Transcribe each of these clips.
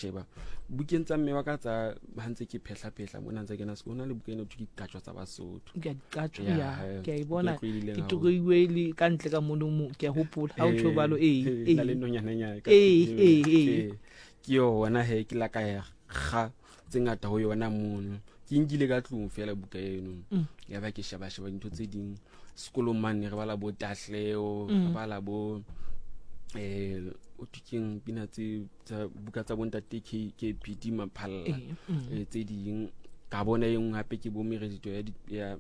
sheba bukeng tsa mme wa ka tsa ha ntse ke phehla phehla mona ntse kena sekolo, ho na le buka ena thwe ke Diqatjwa tsa Basotho. Ke a diqatjwa, Ya, ya, eh, ke a e buka bona. e tlwaelehileng Ke haholo. toroiwe le ka ntle ka mono mo, ke a hopola ha o tjho jwalo, ee, Eh, na le ee. nonyananyana ka Ee, pele, ee, ee. ee. Ke yona he, ke la ka ya kga tse ngata ho yona mono. Ke nkile ka tlung fela buka eno. Ya ba ke sheba sheba dintho tse ding sekolong mane, re bala bo Tahleho, re bala bo o thwe keng pina tse tsa buka tsa bontate K KPD Maphalla, tse ding ka bona e nngwe hape ke bo meredito ya ya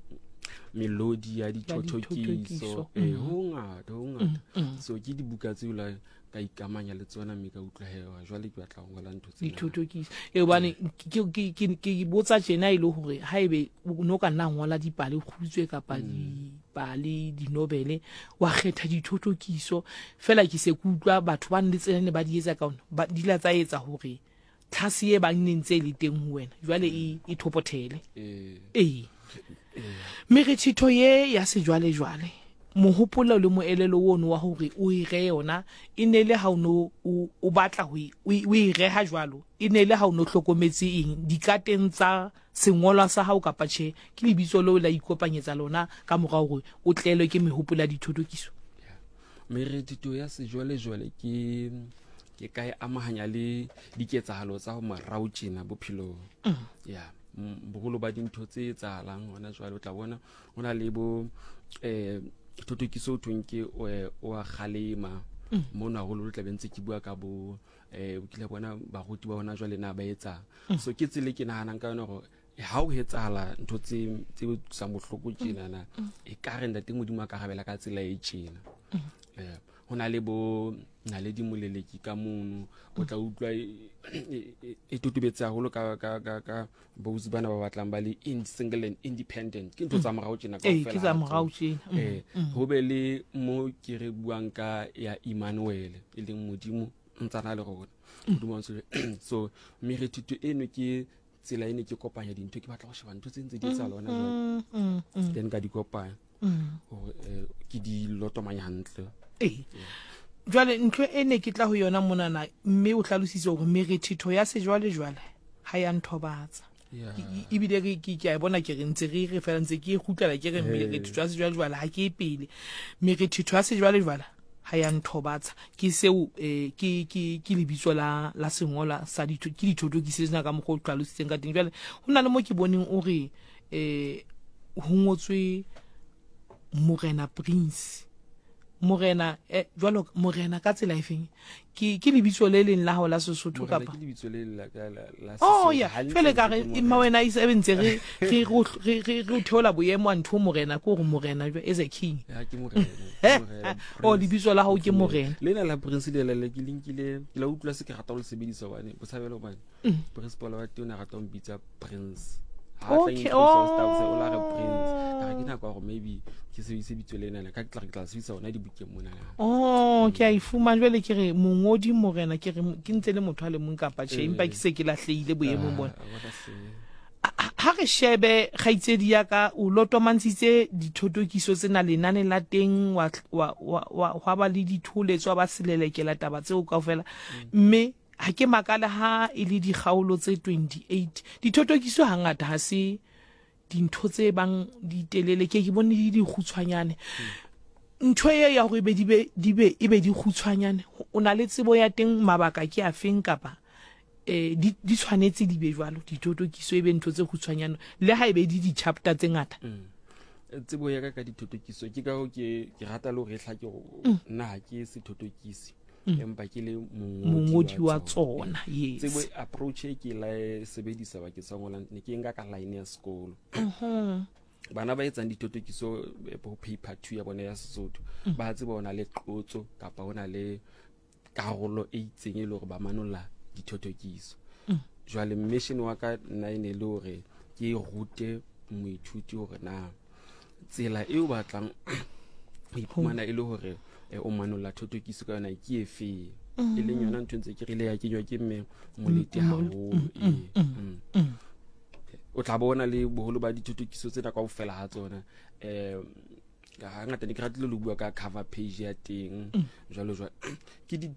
melodi ya dithothokiso. Dithothokiso. Ho ngata, ho ngata. So ke dibuka tseo la ka ikamanya le tsona mme ka utlwa he, wa, jwale ke batla ho ngola ntho tsena. Dithothokiso. Hobane ke botsa tjena e le hore haebe o no ka nna ngola dipale kgutswe kapa dipale dinobele, wa kgetha dithothokiso fela, ke se ke utlwa batho ba le tsena ne ba di etsa ka ona, ba di la tsa etsa hore tlhase e bang ne ntse e le teng ho wena jwale e thopothele. Ee. Merethetho ye ya sejwalejwale, mohopolo le moelelo ono wa hore o e re yona e ne le ha o no o batla ho o e reha jwalo, e ne le ha o no hlokometse eng dikateng tsa sengolwa sa hao kapa tjhe, ke lebitso leo la ikopanyetsa lona ka mora hore o tlelwe ke mehopolo ya dithothokiso? Merethetho ya sejwalejwale ke ka e amahanya le diketsahalo tsa ho morao tjena bophelong. Ya, boholo ba dintho tse etsahalang hona jwale, o tla bona ho na le bo thothokiso ho thweng ke o a kgalema. Mono haholo tla be ntse ke bua ka bo o kile bona baruti ba hona jwale na ba etsang. So ke tsela e ke nahanang ka yona hore ha o etsahala ntho tse utlwisang bohloko tjenana, e ka re ntate Modimo a ka rabela ka tsela e tjena. Ho na le bo Naledi Moleleki ka mono, o tla utlwa e totobetse haholo ka bausi bana ba batlang ba le in single and independent. Ke ntho tsa morao tjena Ee, kaofela ke tsa ha morao tsona. tjena. Ho be le mo ke re buang ka ya Emmanuel, e leng Modimo ntsana le rona. Modimo wa ntse. So merethetho eno ke tsela e ne ke kopanya dintho, ke batla ho sheba ntho tse ntse di etsahala hona jwale. Then ka di kopanya hore ke di lotomanya hantle. Ee. Jwale ntho e ne ke tla ho yona monana, mme o hlalositse hore merethetho ya sejwalejwale ha ya nthobatsa. Ebile ke a e bona, ke re ntse re re fela ntse ke e kgutlela, ke re merethetho ya sejwalejwale ha ke e pele. Merethetho ya sejwalejwale ha ya nthobatsa. Ke seo, ke lebitso la sengolwa sa ditho, ke dithothokiso tsena ka mokgwa o hlalositseng ka teng. Jwale ho na le mo ke boneng o re, ho ngotswe Morena Prince. Morena, jwalo Morena ka tsela efeng? Ke lebitso le leng la hao la Sesotho Morena kapa? ke lebitso le la ka la Oh, Sesotho. ya. Hantle Jwale ka re, ke mma Morena. wena e se ntse re o theola boemo a ntho Morena, ke hore Morena jwa, as a king. Ya, ke Morena, ke Morena, Oh, Prince. lebitso la hao ke Morena. Lena la Prince le la le ke linkile, ke la utlwa se ke rata ho le sebedisa hobane botshabelo hobane principal wa teng o ne a rata ho mpitsa Prince. Ha tla introduce ho staff se, o la re Prince. Ka re ke nako ya hore maybe ke sebedise bitso lena, ka ke tla sebedisa hona dibukeng mona. Oh, ke a e fumana jwale, ke re mongodi Morena, ke re ke ntse le motho a le mong kapa tjhe, empa ke se ke lahlehile boemong bona. Bona se. Ha re shebe kgaitsedi ya ka, o lotomantshitse dithotokiso tsena lenane la teng, hwa ba le ditholetso, wa ba selelekela taba tseo kaofela. Mme ha ke makale ha e le dikgaolo tse 28. Dithotokiso hangata ha se dintho tse bang di telele, ke bone di dikgutshwanyane. Ntho e ya hore ebe di be, di be, e be di kgutshwanyane, o na le tsebo ya teng, mabaka ke a feng kapa, di tshwanetse di be jwalo, dithotokiso e be ntho tse kgutshwanyane, le ha e be di di-chapter tse ngata? Tsebo ya ka ka dithotokiso ke ka hoo ke rata le hore e hlake hore nna ha ke sethotokisi, empa ke le mongodi wa tsona. tsona. Yes. Tsebo approach e ke la e sebedisa bakeng sa ngolang, ne ke nka ka line ya sekolo. Bana ba etsang dithotokiso, ho paper 2 ya bona ya Sesotho, ba tseba hona le qotso kapa hona le karolo e itseng e le hore ba manolla dithotokiso. Jwale mission wa ka nna e ne le hore ke rute moithuti hore na tsela eo batlang ho iphumana e le hore o manolla thothokiso ka yona ke efe, e leng yona ntho ntse ke rile ya kenywa ke mme Molete haholo. O tla bona le boholo ba dithothokiso tsena kaofela ha tsona, Hangata ne ke ratile le bua ka cover page ya teng mm. jwalo jwalo. Ke di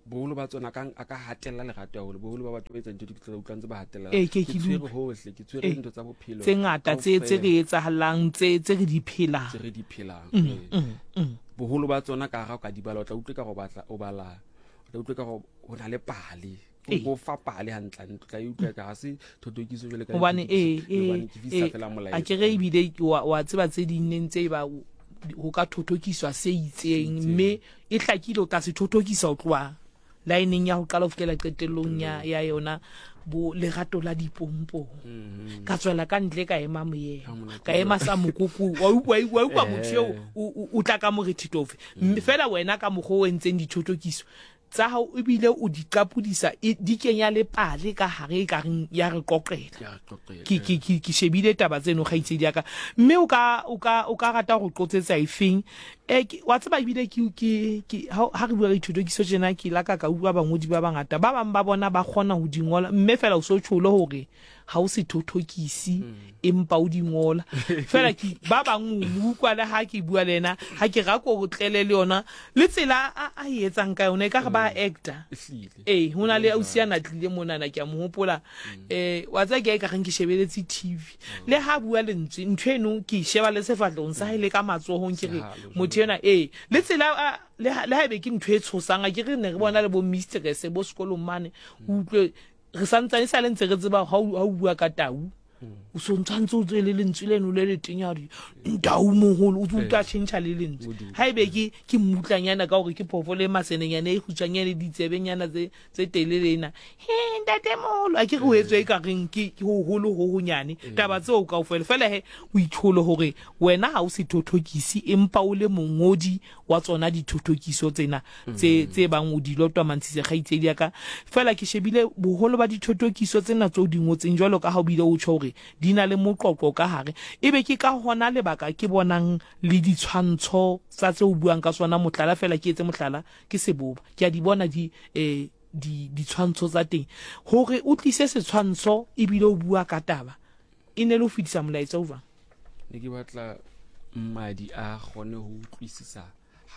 boholo ba tsona ka a ka hatella lerato haholo. Boholo ba batho ba etsa dintho di tla utlwa ntse ba hatella. Ee, ke ke tshwere hohle, ke tshwere dintho tsa bophelo tse ngata tse tse re etsahalang, tse tse re di phelang, tse re di phelang. Mm, mm, Boholo ba tsona ka ga o ka di bala o tla utlwe ka go batla o bala, o tla utlwe ka go ho na le pale. Go fa pale hantle ntlo tla utlwa ka ga se thothokiso jwale ka hobane ee ee a ke re ebile wa tseba tse ding neng tse ba ho ka thothokiswa se itseng mme e hlakile o tla se thothokisa ho tloha laeneng ya ho qala ho fihlela qetellong ya ya yona bo lerato la dipompong mm-hmm. ka tswela ka ntle ka ema moyeng ka ema sa mokoko wa utlwa wa utlwa motho eo o tla ka morethetho ofe mm. fela wena ka mokgwa o entseng dithotokiso tsa hao ebile o di qapodisa e, di kenya le pale ka hare e ka reng ya re qoqela. Ke, ke, ke, ke shebile taba tseno kgaitsedi ya ka. Mme o ka, o ka, o ka rata go qotsetsa efeng? E, ke, wa tseba ebile ke, ke, ke, ha, ha re bua ka dithotokiso tjena ke la ka ka utlwa bangodi ba bangata. Ba bang ba bona ba kgona ho di ngola mme fela o so tjholo hore ga o sethothokisi empa o di ngola fela ke ba bang o mo utlwa le ha ke bua le ena ha ke ra ko tlele le yona le tsela a a e etsang ka yona e ka re ba mm. actor ee ho na le ausi a na tlile monana ke a mo hopola um wa tsaya ke a e ka reng ke shebeletse tv mm. le ha bua lentswe ntho eno ke e sheba le sefatlhong sa hae le ka matsohong ke re motho ena ee le tsela le ha ebe ke ntho e tshosang a ke re ne re bona le bo mistress bo sekolong mane o utlwe re santsane sa le ntse re tseba ha o bua ka tau o so ntshwantse o tswe le lentswe leno le letenya re ntau moholo o tse utlwa tšhentšha le lentswe ha ebe ke ke mmutlanyana ka gore ke phoofolo e masenenyana e kgutshwanyane ditsebenyana tse tse telele ena he ntate moholo a ke re o etswe e ka reng ke ke hoholo ho honyane taba tseo kaofela fela he o itsholo hore wena ha o sethothokisi empa o le mongodi wa tsona dithothokiso tsena tse tse bang o di lotwa mantshise kgaitsedi ya ka. Fela ke shebile boholo ba dithothokiso tsena tse o di ngotseng jwalo ka ha o bile o tjho hore di na le moqoqo ka hare. Ebe ke ka hona lebaka ke bonang le ditshwantsho tsa tse o buang ka tsona mohlala fela ke etse mohlala ke seboba. Ke a di bona di eh di ditshwantsho tsa teng. Hore o tlise setshwantsho ebile o bua ka taba e ne le ho fetisa molaetsa o jwang? Ne ke batla mmadi a kgone ho utlwisisa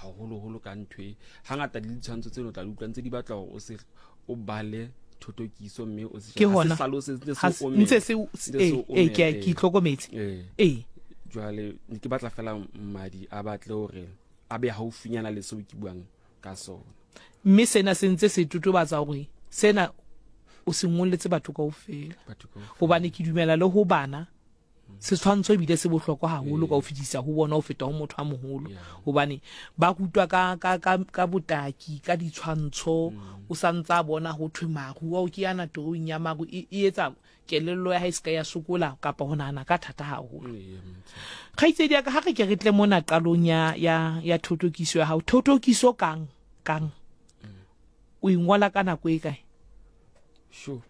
haholoholo ka ntho e hangata le ditshwantsho tseno tla di utlwa ntse di batla hore o se o bale thothokiso mme o se ke hona ntse se e ke ke itlhokometse ee jwale ne ke batla fela mmadi a batle hore a be haufinyana le seo ke buang ka sona mme sena se ntse se totobatsa hore sena o se ngolletse batho kaofela hobane ke dumela le ho bana setshwantsho ebile se bohlokwa haholo ka ho fetisa ho bona ho feta ho motho a moholo hobane ba rutwa ka ka ka ka botaki ka ditshwantsho mm. o sa ntsa bona ho thwe maru ao ke yana torong ya maru e, e etsa kelello ya hae se ka ya sokola kapa ho nahana ka thata haholo kgaitsedi ya ka ha re ke re tle mona qalong ya ya ya thotokiso ya hao thotokiso kang kang mm. o ingola ka nako e kae sure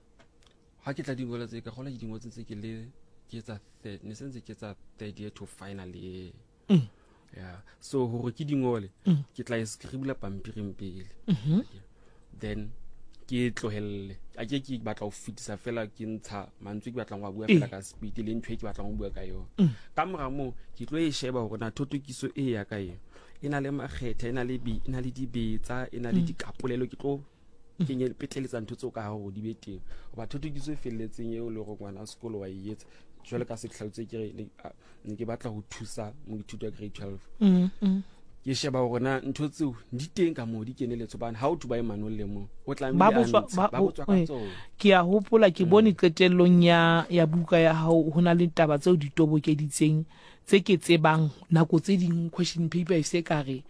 ha ke tla di ngola tse ka gola ke di ngotse tse ke le ke etsa third ne sentse ke etsa third year to final year mm. yeah so hore ke di ngole mm. ke tla e scribbla pampiring pele mm -hmm. then ke e tlohelle a ke ke batla ho fetisa fela ke ntsha mantswe ke batlang go a bua fela ka speed le ntho e ke batlang go bua ka yona mm. ka mora moo ke tlo e sheba hore na thotokiso e ya ka e e na le makgetha e na le e na le dibetsa e na le mm. dikapolelo ke tlo kenye petleletsa ntho tseo ka hare gore di be teng goba thothokiso e feleletseng eo le gore ngwana sekolo wa e etsa jwale ka setlhalotse ke re ne ke batla go thusa moithuti wa grade 12 mm, mm. ke sheba gore na ntho tseo di teng ka moo di keneletse hobane ha o thuba e manolle mo o tlamehile ba botswa ka tsona ke a hopola ke bone mm. qetellong ya ya buka ya hao ho na le taba tseo di tobokeditseng tse ke tsebang nako tse ding question paper e se ka re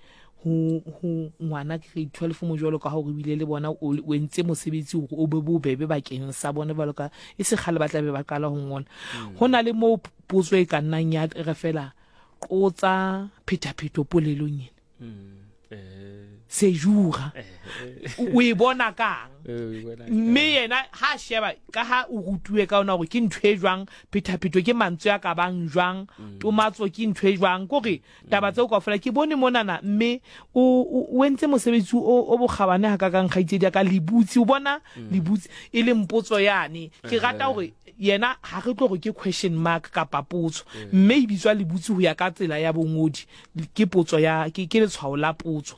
ho ho ngwana grade 12 mo jwalo ka hore bile le bona o entse mosebetsi hore o be bobebe bakeng sa bona jwalo ka e se kgale ba tla be ba qala ho ngola mm. ho na le moo potso e ka nnang ya re fela qotsa phethaphetho polelong ena mm. eh. Sejura o e bona kang mme yena ha sheba ka ha o rutuwe ka ona gore ke ntho e jwang phethaphetho ke mantswe a ka bang jwang mm. tomatso ke ntho e jwang kore mm. taba tseo kaofela ke bone monana mme o entse mosebetsi o bokgabane ga ka kang kgaitsedi ya ka lebutsi o bona mm. lebutsi e leng potso yane ke rata gore yena ga re tlo gore ke question mark kapa potso mme e bitswa lebutsi go ya ka tsela ya bongodi Ke potso ya, ke, ke letshwao la potso.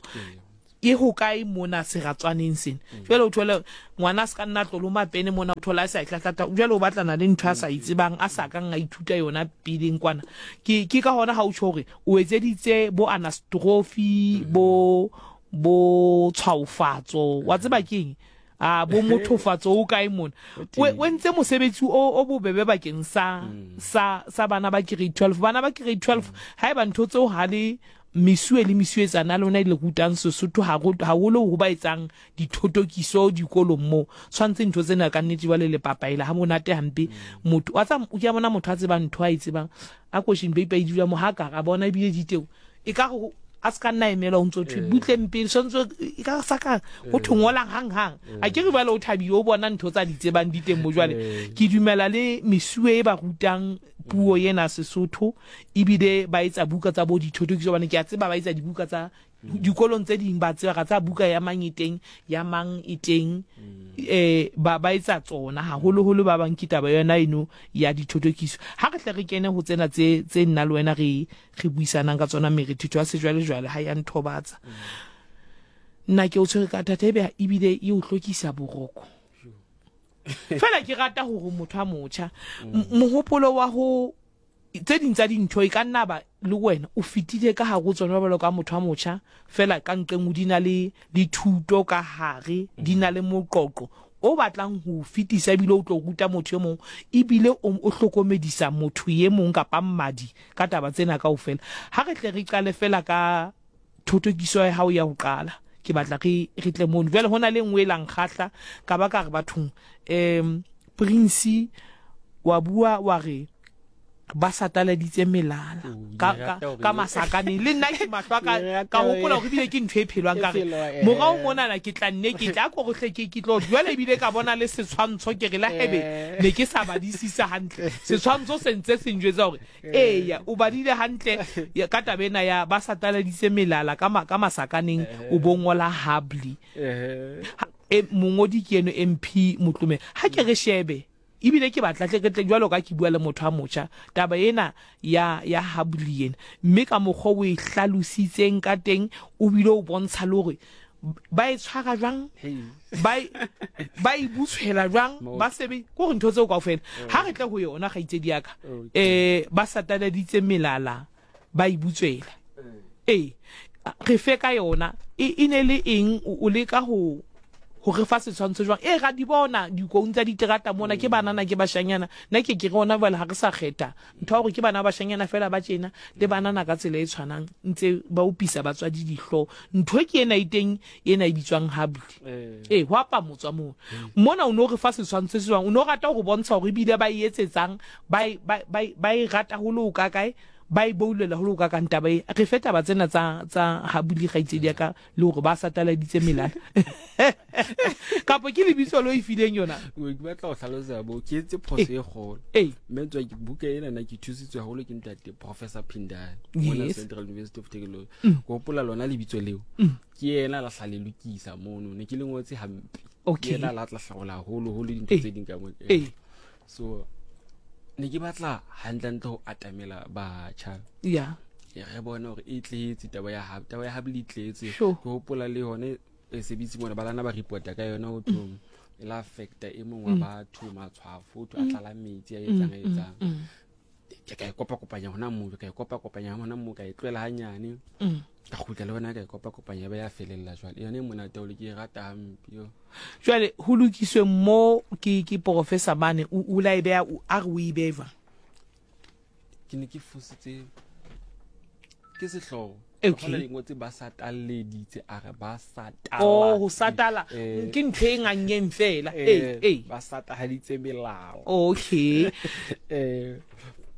E ho kae mona seratswaneng sena? Jwale o thole ngwana a se ka nna a tloloma pene mona, o thola a sa e tlatlata. Jwale o batlana le ntho a sa e tsebang, a sa kang a ithuta yona peleng kwana. Ke, ke ka hona ha o tjho hore o etseditse bo anastrofi, bo, bo tshwaofatso. Wa tseba keng? A bo mothofatso o kae mona? O entse mosebetsi o o bobebe bakeng sa mm. sa sa bana ba grade 12. Bana ba grade 12 mm. haeba ntho tseo ha le mesuwe le mesuwetsana lona e le rutang Sesotho haholo ho ba etsang dithotokiso dikolong moo tshwanetse ntho tsena ka nnete jwale le papaela ha monate hampe mm. motho wa tsa o ke bona motho a tsebang ntho a e tsebang a question paper e dula mo ha ka ra bona ebile diteo e ka go a se ka nna emelwa o ntse o thwe eh. butleng pele tshwanetse e ka sa ka go thwe ngolang hang hang eh. A ke re jwale o thabile o bona ntho tsa di tsebang di teng mo jwale eh. Ke dumela le mesuwe e ba rutang puo ena Sesotho ebile ba etsa buka tsa bo dithotokiso bane ke a tseba ba etsa dibuka tsa dikolong tse ding ba tseba ga tsa buka ya mang e teng ya mang e teng eh ba ba etsa tsona haholoholo ba bang ke taba yona eno ya dithotokiso ha re tle re kene ho tsena tse tse nna le wena re re buisanang ka tsona merethetho ya sejwalejwale ha ya nthobatsa nna ke o tshwere ka thata ebe ebile e o hlokisa boroko fela ke rata hore motho a motjha mohopolo wa ho tse ding tsa dintho e ka nna ba le wena o fetile ka hare ho tsona jwalo ka motho a motjha fela ka nqeng o di na le le thuto ka hare di na le moqoqo o batlang ho o fetisa ebile o tlo ruta motho e mong ebile o, o hlokomedisa motho e mong kapa mmadi ka taba tsena kaofela. Ha re tle re qale fela ka thotokiso ya hao ya ho qala. Ke batla re, re tle mono. Jwale ho na le e nngwe e la nkgahla, ka ba ka re bathong, um Prince wa bua wa re, ba sataladitse melala oh, ka, ka, ka masakaneng le nna ke mahlo a ka ka hopola gore ebile ke ntho e phelwang ka re eh. morao monana ke tla nne ke tla ko gotlhe ke ke tlo jwale ebile ka bona le setshwantsho ke re la hebe eh. ne ke sa badisisa hantle setshwantsho se ntse se njwetsa gore eh. eya o badile hantle ka taba ena ya ba sataladitse melala ka ka masakaneng o bo ngola hably e mongodi ke eno MP Motlome ha ke re shebe Ebile ke batla tle re tle jwalo ka ke bua le motho a motjha, taba ena ya, ya Habli ena. Mme ka mokgwa o e hlalositseng ka teng, o bile o bontsha le hore ba e tshwara jwang, ba e, ba e butshwela jwang, ba sebe, ke hore ntho tseo kaofela. Ha re tle ho yona, kgaitsedi ya ka, eh, ba sataladitse melala, ba e butswela. Ee, re fe ka yona. E, e ne le eng? O leka ho ho re fa setshwantsho jwang? Ee, ra di bona dikoung tsa diterata mona, ke banana, ke bashanyana. Nna ke ke re hona jwale ha re sa kgetha ntho ya hore ke bana ba bashanyana feela ba tjena, le banana ka tsela e tshwanang ntse ba opisa batswadi dihlooho. Ntho ke ena e teng ena e bitswang hubbly. Ee, ho a pamotswa moo. Mona o no re fa setshwantsho se jwang? O no rata ho re bontsha hore ebile ba e etsetsang, ba e, ba, ba, ba e rata ho le ho kakae? Ba e boulela ho le ho kakang taba e. Re fe taba tsena tsa, tsa Habuli kgaitsedi ya ka le hore ba sataladitse melala. Kapo ke lebitso lo e fileng yona? Ke batla ho hlalosa bo ke etse phoso e kgolo. Ee. Mme tswa ke buka ena na ke thusitswe haholo ke ntate Professor Phindane mona Central University of Technology. Ke hopola lona lebitso leo. Ke yena la hla le lokisa mono ne ke le ngotse hampe. Okay. Ke yena la tla hlaola haholo holo dintho tse ding ka mo. Ee. So ne ke batla hantlentle ho atamela batjha ya re bone hore e tletse taba ya hab taba ya hab le tletse Sure. ke hopola le yone e sebitse mona ba lana ba reporta ka yona ho thong e la affecta e mong wa batho matshwafo ho thwe a tlala metsi a etsang a etsang ke ka e kopa kopanya hona moo ka e kopa kopanya hona moo ka e tlohela hanyane ka kgutla le yona ka e kopa kopanya ba ya felella jwale yone e monate haholo ke e rata hampe yo Jwale ho lokiswe mo ke ke professor mane o o la e beha a re o e behe jwang? Ke ne ke fositse ke sehloho. Okay. Hona le ngotse ba satalleditse a re ba satala. Oh, ho satala Eh. ke ntho e ngangeng fela. Eh, eh. Ba satahaditse melao. Okay. Eh.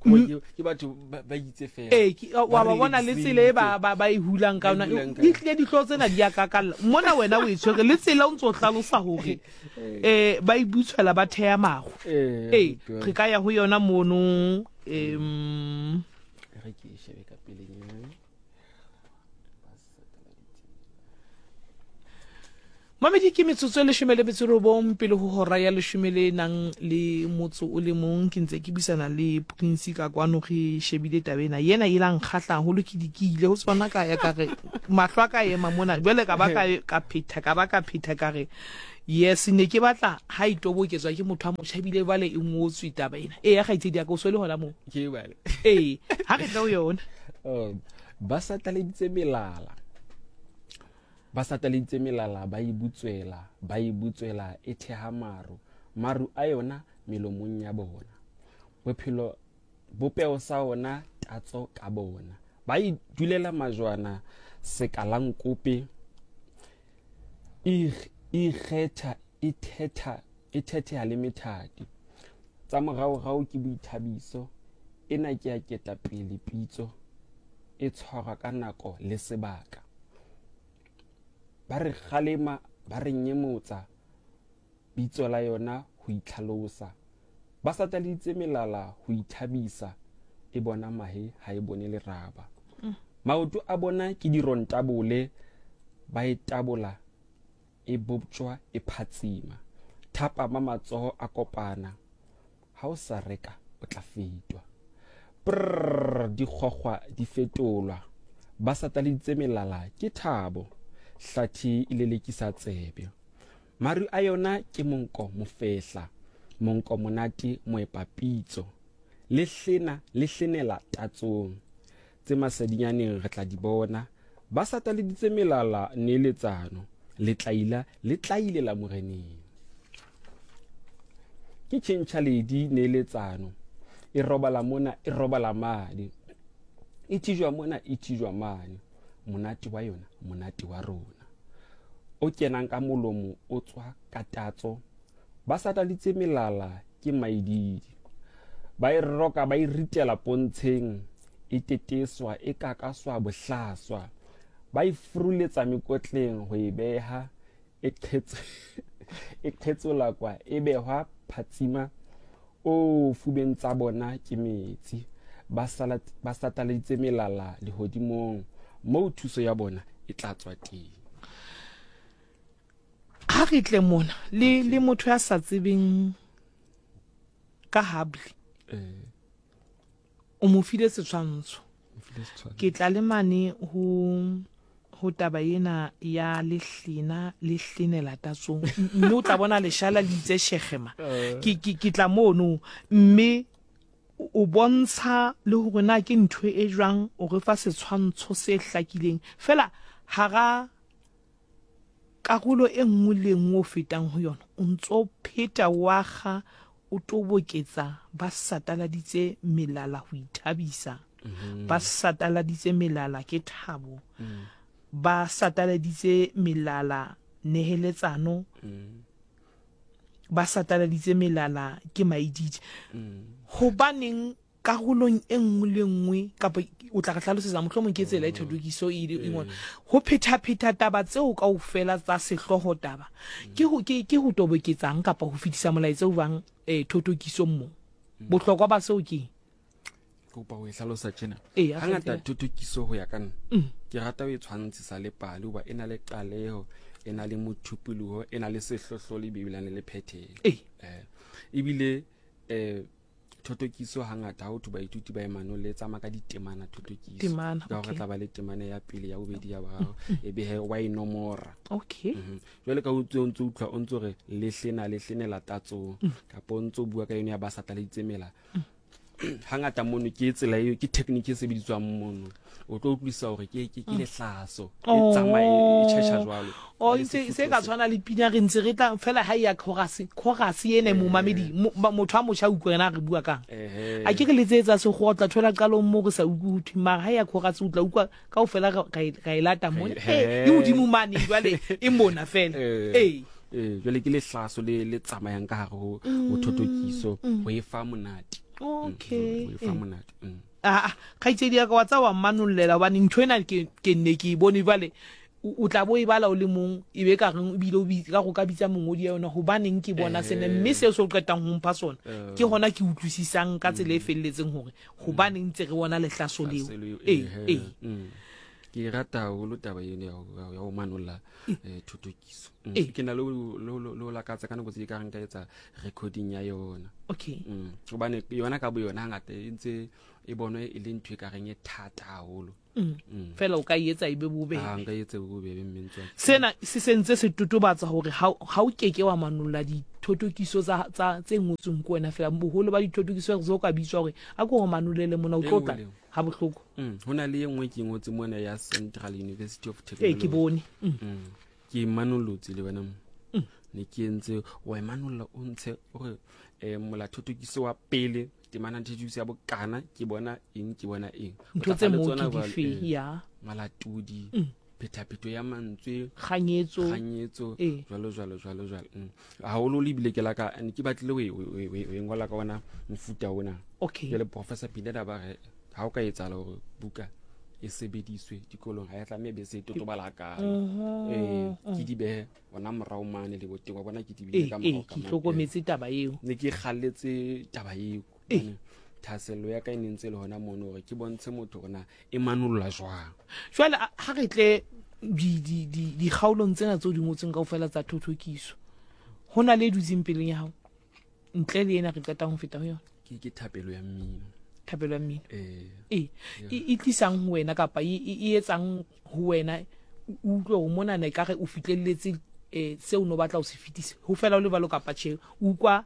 Ke batho ba itse fela. Ee, wa ba bona le tsela e ba e hulang ka yona. E tlile dihlooho tsena di a kakalla. Mona wena o e tshwere le tsela o ntse o hlalosa hore um ba e butshwela ba theya mago. Ee, re ka ya ho yona mono. Um Re ke e shebe ka pelenyana. Mamedi ke metsotso e leshome le metso robong pele ho hora ya leshome le nang le motso o le mong. Ke ntse ke buisana le Prince ka kwano, re shebile taba ena. Yena e la nkgahla haholo, ke di ke ile ho tsona ka ya ka re mahlo a ka ema mona. Jwale ka ba ka ka phetha, ka ba ka phetha ka re yes, ne ke batla ha e toboketswa ke motho a motjha ebile jwale e ngotswe taba ena. Eya kgaitsedi ya ka, o so le hona moo? Ke bale. Ee, ha re tle ho yona. Ba sataleditse melala. Ba sataleditse melala, ba e butswela, ba e butswela, e theha maru, maru a yona melomong ya bona. Bophelo, bopeho sa ona, tatso ka bona. Ba e dulela majwana, sekalankope, e ikgetha, e thetha, e thetheha le methati. Tsa moraorao ke boithabiso, ena ke ya ketapele pitso, e tshwarwa ka nako le sebaka. Ba re kgalema, ba re nyemotsa, bitso la yona ho itlhalosa. Ba sataleditse melala ho ithabisa, e bona mahe ha e bone leraba. Maoto a bona ke dirontabole, ba e tabola, e boptjwa e phatsima. Thapama matsoho a kopana, ha o sa reka o tla fetwa. Prrr, dikgwakgwa di fetolwa. Ba sataleditse melala ke thabo, hlathi e lelekisa tsebe. Maru a yona ke monko mofehla, monko monate moepapitso. Le hlena, le hlenela tatsong. Tse masedinyaneng re tla di bona. Ba sataleditse melala neeletsano, letlaila le tlailela moreneng. Ke tjhentjhaledi neeletsano, e robala mona, e robala mane. E tijwa mona, e tijwa mane. Monate wa yona, monate wa rona. O kenang ka molomo o tswa ka tatso. Ba satalitse melala ke maididi. Ba e roka, ba e ritela pontsheng, e teteswa, e kakaswa bohlaswa. Ba e furuletsa mekotleng ho e beha, e e qhetsolakwa, e behwa phatsima. O fubeng tsa bona ke metsi. Ba sataleditse melala lehodimong, moo thuso ya bona e tla tswa teng. Ha re tle mona le le motho ya sa tsebeng ka Hubbly. O mo file setshwantsho. Ke tla le mane ho ho taba ena ya lehlena le hlenela tatsong, mme o tla bona leshala le itse shegema. Ke ke ke tla mono, mme o bontsha le hore na ke ntho e jwang, o re fa setshwantsho se hlakileng fela hara karolo e nngwe le e nngwe o fetang ho yona, o ntso pheta o akga, o toboketsa ba sataladitse melala ho ithabisa, ba sataladitse melala ke thabo, ba sataladitse melala neheletsano, ba sataladitse melala ke maididi. Hobaneng karolong e nngwe le nngwe, kapa o tla re hlalosetsa mohlomong ke tsela e thothokiso e ile e ngolwa, ho phetapheta taba tseo kaofela tsa sehlooho taba ke ho, ke, ke ho toboketsang kapa ho fetisa molaetsa o jwang thotokisong moo? Bohlokwa ba seo ke eng? Kopa ho e hlalosa tjena. Ee, a Hangata kgethile. thothokiso ho ya ka nna, ke rata ho e tshwantshisa le pale hoba e na le qaleho, e na le mothupoloho, e na le sehlohlolo ebile e na le phethelo. Ebile thothokiso hangata ha ho thwe baithuti ba e manolle, e tsamaya ka ditemana thothokiso. Temana, Ka hore okay. tla ba le temana ya pele, ya bobedi, ya boraro, e be he wa e nomora. Okay. Jwale ka o ntse o utlwa o ntse re lehlena, lehlenela tatsong, kapa o ntse o bua ka yone ya ba sataleditse mela. Hangata mono ke tsela eo, ke technique e sebediswang mono. O tlo utlwisisa hore ke lehlaso. E tsamaya e tjhetjha jwalo. Oh, Le se sefutho ka se. tshwana le pina re ntse re tla fela ha e ya chorus, chorus ena momamedi, motho a motjha utlwe rena re bua kang. A ke re letsetsa sekgowa, o tla thola qalong mo re sa utlwe ho thwe, mara ha ya chorus o tla utlwa kaofela ra e lata mona. E hodimo mane jwale e mona fela. Jwale ke lehlaso le tsamayang ka hare ho thothokiso, ho e fa monate. Okay. O e fa monate. Aa, kgaitsedi ya ka wa tsa wa mmanollela gobane ntho ena ke ke nne ke e bone jwale o tla bo e bala o le mong e be ka reng ebile o ka go ka bitsa mongodi ya yona gobaneng ke bona sena mme seo se o qetang ho mpha sona ke gona ke utlwisisang ka tsela e felletseng hore gobaneng ntse re bona lehlaso leo. Ee, ee. Ke e rata haholo taba eno ya ho manolla thothokiso. Ke na le ho lakatsa ka nako tse ka reng ka etsa recording ya yona. Okay. Hobane yona ka bo yona hangata e ntse e bonwe e le ntho e ka reng e thata haholo. Fela o ka e etsa e be bobebe. Ah, nka e etsa e be bobebe mme ntse. Sena se sentse se totobatsa hore ha o keke wa manolla dithothokiso tsa tse ngotsweng ke wena fela. Boholo ba dithothokiso re ka bitswa hore a ko re manolele mona o tlo tla ha bohloko. Ho na le e nngwe ke ngotse mona ya Central University of Technology. Ee, ke bone. Ke e manolotse le wena mo. Ne ke entse wa e manolla o ntshe o re molathothokiso wa pele temana thothokiso ya bokana ke bona eng ke bona eng. Ntho tse moo ke dife ya malatodi phethaphetho ya mantswe kganyetso kganyetso jwalo jwalo jwalo jwalo. Haholo le ebile ke la ka ne ke batlile ho e ngola ka ona mofuta ona. Okay. Jwale Professor Pineda ba re ha o ka etsahala hore buka e sebediswe dikolong ha ya tlameha be se totobala hakalo. Ke di behe ona morao mane le boteng wa bona ke di behe ka morao ka mane. Ke hlokometse taba eo. Ne ke kgalletse taba eo. Thahasello ya ka e ne ntse le hona mono hore ke bontshe motho hore na e manolla jwang. Jwale ha re tle dikgaolong tsena tseo di ngotsweng kaofela tsa thothokiso, ho na le e dutseng peleng ya hao ntle le ena re qetang ho feta ho yona? Ke thapelo ya mmino. Thapelo ya mmino. Ee. E tlisang ho wena kapa e etsang ho wena o utlwe hore monana ekare o fihlelletse seo o no batla ho se fetisa. Ho fela o le jwalo kapa tjhe, o utlwa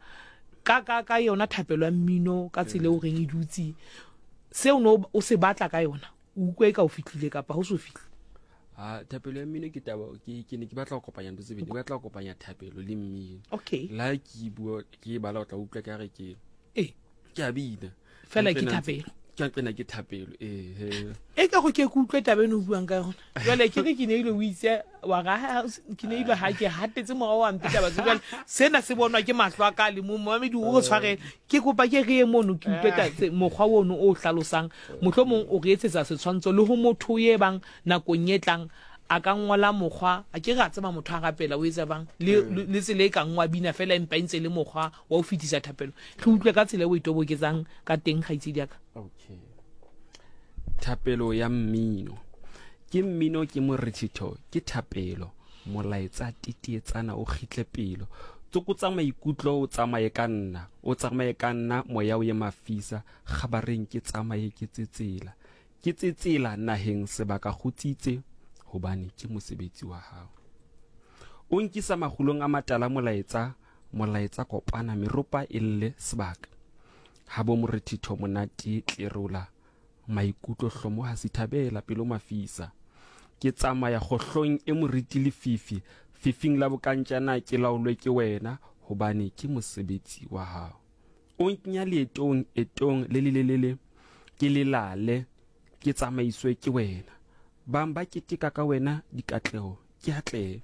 ka yona thapelo ya mmino ka tsela eo reng e dutse seo no o se batla ka yona, o utlwe e ka o fihlile kapa ho so fihle. Ha thapelo ya mmino ke taba ke ne ke batla ho kopanya ntho tse pedi, ke batla ho kopanya thapelo le mmino. Okay. La ke bua ke bala o tla utlwa ka re ke ke a bina. Fela ke thapelo. Ke nqena ke thapelo eh. E ka go ke ke utlwe taba eno o buang ka yona. Jwale ke re ke ne ile o itse wa ga ke ne ile ha ke hatetse morao wa mpe taba tse jwale sena se bonwa ke mahlo a ka le mo momedi o re tshwarele ke kopa ke re ye mono ke utlwe taba mokgwa ono o hlalosang mohlomong o re etsetsa setshwantsho le ho motho ye bang nakong e tlang a ka ngola mokgwa a ke re a tseba motho a rapela o etsa bang le le tsela e kang wa bina fela empa e ntse le mokgwa wa ho fetisa thapelo re utlwe ka tsela e o e toboketsang ka teng kgaitsedi ya ka. Okay. Thapelo ya mmino ke mmino ke morethetho ke thapelo molaetsa titietsana o kgitle pelo tsokotsa maikutlo o tsamaye ka nna o tsamaye ka nna moya o ye mafisa kgabareng ke tsamaye ke tsetsela ke tsetsela naheng sebaka kgutsitse hobane ke mosebetsi wa hao o nkisa makgulong a matala molaetsa molaetsa kopana meropa e lle sebaka ha bo morethetho monate tlerola maikutlo hlomoha sithabela pelo mafisa ke tsamaya kgohlong e moriti lefifi fifing la bokantjana ke laolwe ke wena hobane ke mosebetsi wa hao o nkenya leetong etong le lelelele ke lelale ke tsamaiswe ke wena bang ba keteka ka wena dikatleho ke atlehe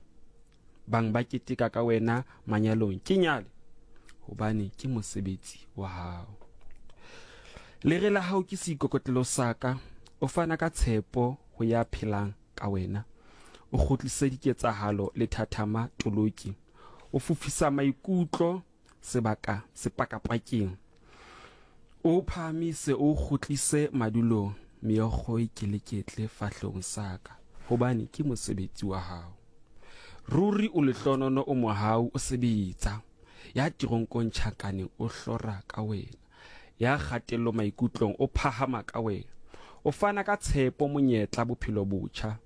bang ba keteka ka wena manyalong ke nyale hobane ke mosebetsi wa hao lere la hao ke seikokotlelo sa ka o fana ka tshepo ho ya phelang ka wena o kgutlise diketsahalo le thathama toloki o fofisa maikutlo sebaka sepakapakeng o phahamise o kgutlise madulong meokgo e keleketle fahlehong sa ka hobane ke mosebetsi wa hao ruri o lehlonono o mohau o sebetsa ya teronkong tjhankaneng o hlora ka wena ya kgatello maikutlong o phahama ka wena o fana ka tshepo monyetla bophelo botjha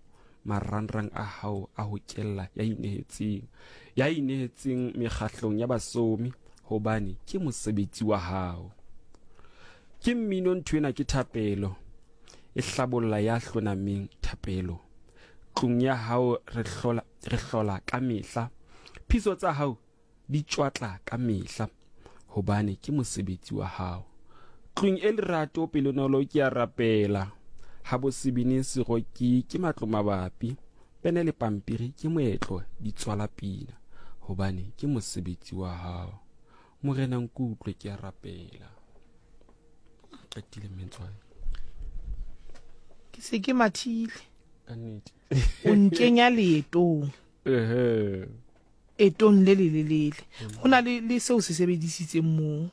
marangrang a hao a ho kella ya inehetseng ya inehetseng mekgahlong ya basomi hobane ke mosebetsi wa hao ke mmino ntho ena ke thapelo e hlabolla ya hlonameng thapelo tlung ya hao re hlola ka mehla phiso tsa hao di tšwatla ka mehla hobane ke mosebetsi wa hao tlung e lerato pelonolo ke a rapela ha bo sebine seroki ke matlo mabapi pene le pampiri ke moetlo di tswala pina hobane ke mosebetsi wa hao morena nkutlwe ke a rapela. Qetile mmentswane. Ke se ke mathile. Ka nnete. O nkenya leetong. Ehe. Etong le lelelele. Ho na le le seo se sebedisitseng moo.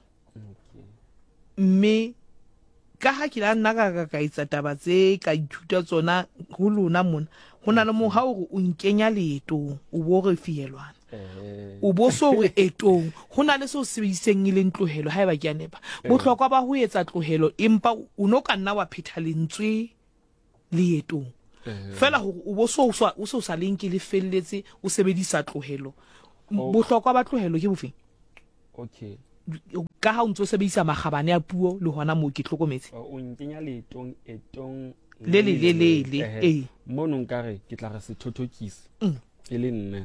Mme ka ha ke la nna ka ka ka etsa taba tse ka ithuta tsona ho lona mona, ho na le moo ha o re o nkenya leetong, o bo re fihelwana. O bo so re etong, ho na le seo se sebedisitseng e leng tlohelo, haeba ke a nepa. Bohlokwa ba ho etsa tlohelo, empa o no ka nna wa phetha lentswe leetong. Feela hore o bo so o so sa le nke le felletse, o sebedisa tlohelo. Bohlokwa ba tlohelo ke bofeng? Okay. Ka ha o ntse o sebedisa makgabane a puo le hona moo ke hlokometse. O nkenya leetong etong le le le le le ee. Mono nkare ke tla re sethothokisi. E le nna.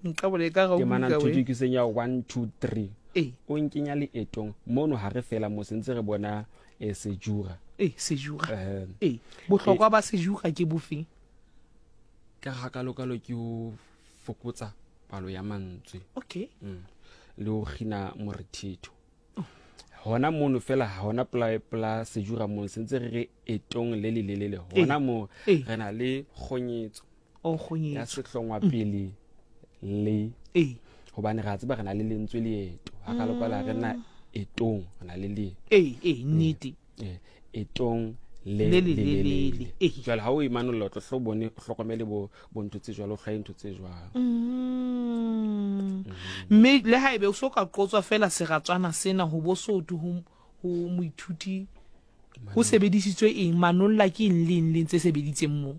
Nka bole ka ga o Ke mana buka we. thothokiseng ya 1 2 3. Ee. O nkenya leetong mono ha re fela mo sentse re bona sejura. Ee, sejura. Ee. Bohlokwa ba sejura ke bofeng? Ka ga kalokalo ke o fokotsa palo ya mantswe. Okay. Le ho kgina morethetho. Hona mono fela hona pla pla sejura mono sentse re re etong le le lelele. Hona mo re na le kgonyetso. O kgonyetso. Ya sehlongwa pele le. Hobane re a tseba re na le lentswe leeto. Ha ka lokala re na etong, re na le le. Ee, nnete. Etong le le le le le. Jwale ha o e manolla o tlo hlo bone, o hlokomele bo bo ntho tse jwalo, o hlwaye ntho tse jwalo. Mme le haebe o so ka qotswa fela seratswana sena ho bo soto ho ho moithuti ho sebedisitswe eng, manolla ke eng le eng le eng tse sebeditseng moo.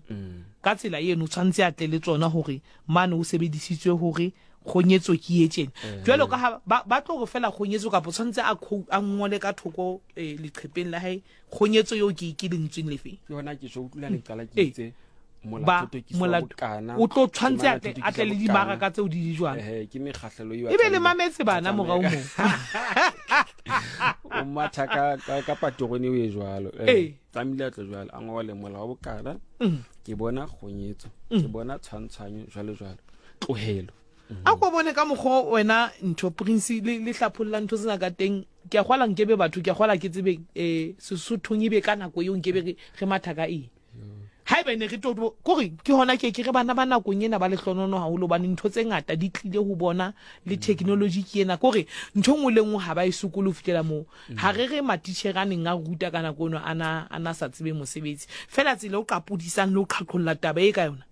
Ka tsela eno o tshwanetse a tle le tsona hore mane ho sebedisitswe hore kgonyetso ke e tjena. Jwalo ka ha ba tlo re fela kgonyetso kapa tshwanetse a a ngole ka thoko leqhepeng la hae kgonyetso eo ke ke lentsweng lefe. Ke hona ke tjho utlwela le qala ke itse Ba, molato molato o tlo tshwanetse a tle a tle le dimaraka tseo di di jwang. Ke mekgahlelo eo E be le mametse bana morao moo. O matha ka ka ka paterone eo e jwalo. Tlamehile a tle jwalo, a ngole molao wa bokana. Ke bona kgonyetso, ke bona tshwantshwanyo jwalo jwalo. Tlohelo. A ko bone ka mokgwa wena ntho Prince le le hlapholla ntho tsena ka teng. Ke a kgwala nkebe batho, ke a kgwala ke tsebe Sesothong ebe ka nako eo nkebe re re matha ka eng. Haeba ne re tlo kore ke hona ke ke re bana ba nakong ena ba lehlonono haholo hobane ntho tse ngata di tlile ho bona le technology ke ena kore ntho nngwe le nngwe ha ba e sokole ho fihlela moo. Ha re re matitjhere a neng a ruta ka nako eno ana ana sa tsebe mosebetsi fela tsela o qapodisang le ho qhaqholla taba e ka yona.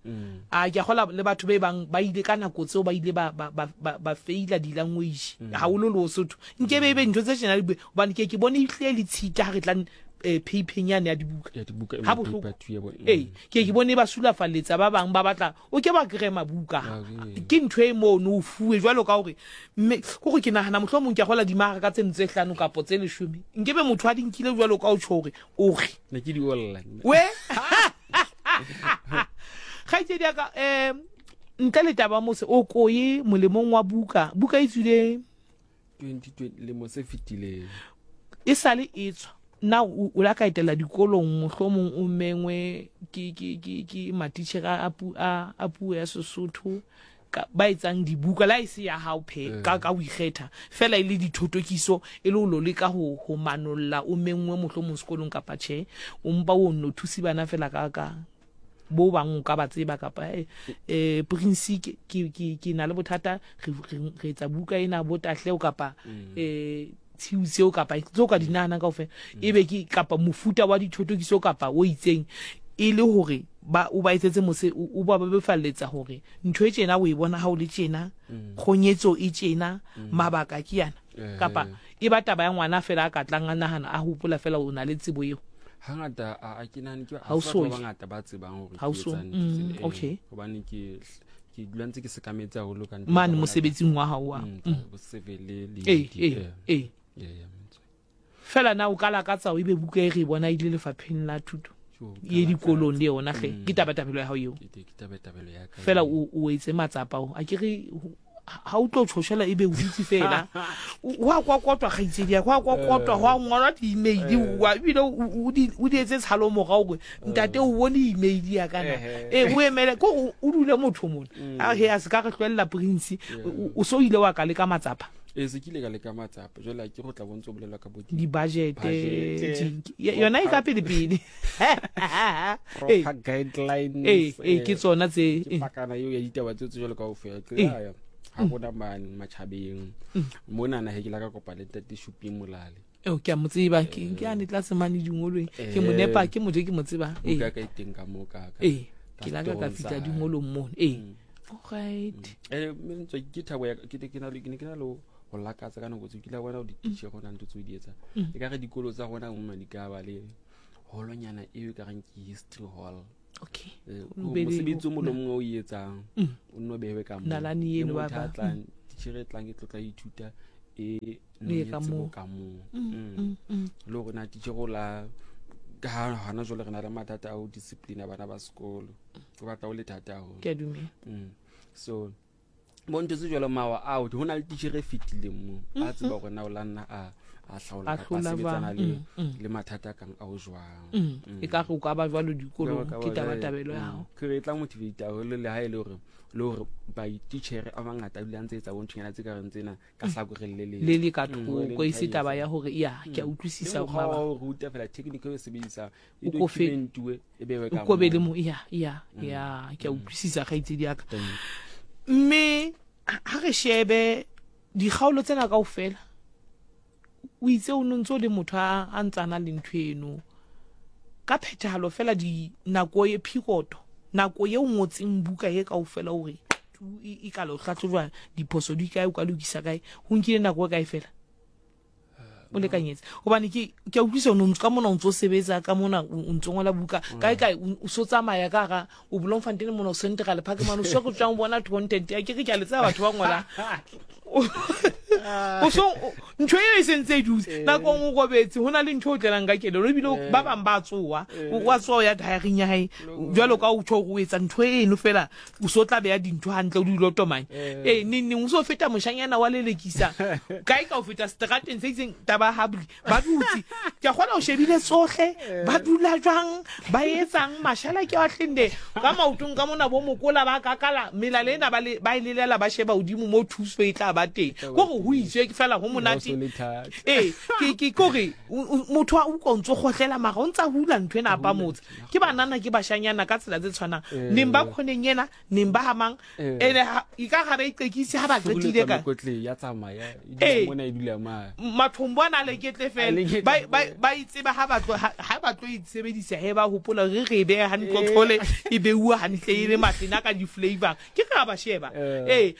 A ke a kgola le batho be bang ba ile ka nako tseo ba ile ba ba ba ba feila di language haholo le Sotho. Nkebe ebe ntho tse tjena di bue hobane ke ke bone ehlile le tshita ha re tla phepheng yane ya dibuka. Ya dibuka, Ha bohloko. paper two ya bona. Ee, ke ke bone ba sulafalletsa ba bang ba batla o ke ba kry mabuka. Ah, ee. Ke ntho e mono o fuwe jwalo ka hore mme kore ke nahana mohlomong ke a gola dimaraka tseno tse 5 kapo tse 10. Nkebe motho a di nkile jwalo ka o tjho hore o re. Ne ke di olla nna. We? Kgaitsedi ya ka, ntle le taba mose o koye molemong wa buka. Buka e tswile 2020 lemo se fetileng. E sale e tswa. Na o la ka etela dikolong mohlomong o mengwe ke ke ke ke matitjhere a a a puo ya Sesotho ka ba etsang dibuka la e se ya hao phe ka ka o ikgetha fela e le dithotokiso e le o lo leka ho ho manolla o mengwe mohlomong sekolong kapa tjhe o mpa o nno thusi bana fela ka ka bo bang o ka ba tseba kapa Prince ke ke ke na le bothata re re etsa buka ena bo tahleo kapa tshiu tseo kapa tseo ka di nahanang kaofela ebe ke kapa mofuta wa dithotokiso kapa o itseng e le hore ba o ba etsetse mose o ba bebefalletsa hore ntho e tjena o e bona ha o le tjena kgonyetso e tjena mabaka ke yana kapa e ba taba ya ngwana fela a ka tlang a nahana a hopola fela o na le tsebo eo. Hangata a ke nahane ke Ha o batho ba so ye. bangata ba tsebang hore Ha o ke so- etsang ntho tsena. Okay. Hobane ke dula ntse ke sekametse haholo ka ntho Mane tsa bona mosebetsing wa hao wa. Tsa bo civil le di, ya, metswe. Fela na o ka lakatsa o ebe buka e re bona ile lefapheng la thuto? Tjo, ka Ye dikolong lakatsa. le yona hle. Ke tabatabelo ya hao eo. Ke tabatabelo ya ka Fela eo. o etse matsapa ao. A ke re ha o tlo tshoshela ebe o dutse fela. Ho a kokotwa kgaitsedi ya ka, ho a kokotwa, ho a ngolwa di-email, wa ebile o di etse tshalo morao hore ntate o bone email ya ka na. O emele, ke hore o dule motho mona. A he, a se ka re hlwella Prince. O so ile wa ka leka matsapa. Ee, se ke ile ka leka matsapa jwale a ke go tla bontse o bolelwa ka bo di-budgete yona e ka pele pele proper guidelines ee ee ke tsona tse ke pakana eo ya ditaba tseo tse jwalo kaofela ke ya ga gona mane matjhabeng mona na he ke la ka kopa le ntate Shuping Molale eo ke a mo tseba ke ke ane tlase mane dingolweng ke mo nepa ke motho e ke mo tsebang ee ka ka teng ka mo ka ee ke la ka ka fihla dingolong mono ee alright eh mme ntse ke thabo ya ke ke na le ke ne ke na le ho lakatsa ka nako tseo ke la bona di teacher gona ntho tseo di etsa e ka re dikolo tsa rona mo di ka ba le holonyana eo e ka reng ke history hall okay mosebetsi o mongwe le mongwe o etsang o nno bewe ka moo nalane eno ba ba tlang teacher e tlang e tlotla ithuta e ka moo ka moo le gore na teacher o la ka hana jwale re na le mathata a ho discipline bana ba sekolo go batla o le thata haholo ke a dumela so bo ntho tse jalo mawa ao go na le teacher e fetileng mo a tseba gore na o la nna a a hlaola kapa a sebetsana le le mathata a kang ao jwang e ka re o ka ba jwalo dikolong ke tabatabelo ya gago ke re e tla motivate haholo le ha e le gore le gore baititjhere a mangata a dula ntse etsa bonthonyana tse ka reng tsena ka hlakoreng le le le ka thoko e se taba ya gore ya ke a utlwisisa mokgwa wa ho ruta fela technique e sebedisang e documentuwe e bewe ka o le mo ya ya ya ke a utlwisisa kgaitsedi ya ka mme ha re shebe dikgaolo tsena kaofela o itse o ntse o le motho a ntsana le ntho eno ka phethahalo fela di nako e phiroto nako ye o ngotseng buka e kaofela o re e ka lo hlahlojwa diphoso di kae o ka lokisa kae ho nkile nako e kae fela o lekanyetse gobane ke ke a utlwisa o ne ka mona o ntse o sebetsa ka mona o ntse ngola buka kae kae o so tsamaya ka gara o Bloemfontein mona o Central Park mane o so go tswang bona content ya ke re ke a le tsaya batho ba ngolang o so ntho eo e sentse e dutse eh. nako nngwe o robetse go na le ntho o tlelang ka kelelo ebile eh. ba bangwe ba tsoa eh. wa tsoa o ya diaring ya gae jalo ka o tsho go etsa ntho eno fela o so tla beya dintho gantle o di lotomane ee neng neng o so feta moshanyana wa lelekisa kae ka o feta strateng se itseng taba habli ba dutse ke a kgona o shebile tsohle ba dula jwang ba etsang mashala ke wa tlende ka maotong ka mona bo mokola ba kakala melala ena ba e lelela ba sheba godimo mo thuso e tla ba teng ko gore go itswe fela go monate ee ke kore motho a utlwa o ntse gotlela mara o ntse a hula ntho ena apa motse ke banana ke bashanyana ka tsela tse tshwanang neng ba kgoneng ena neng ba hamang eh. ene e ka ga ba iqekise ha ba qetile ka ya tsamaya e mona e dula ma mathombo ana le ketle fela ba ba ba itseba ha ba tlo ha ba tlo itsebedisa he ba hopola re re be hantle eh. thole e beuwa hantle e le matlena ka di flavor ke ka ba sheba eh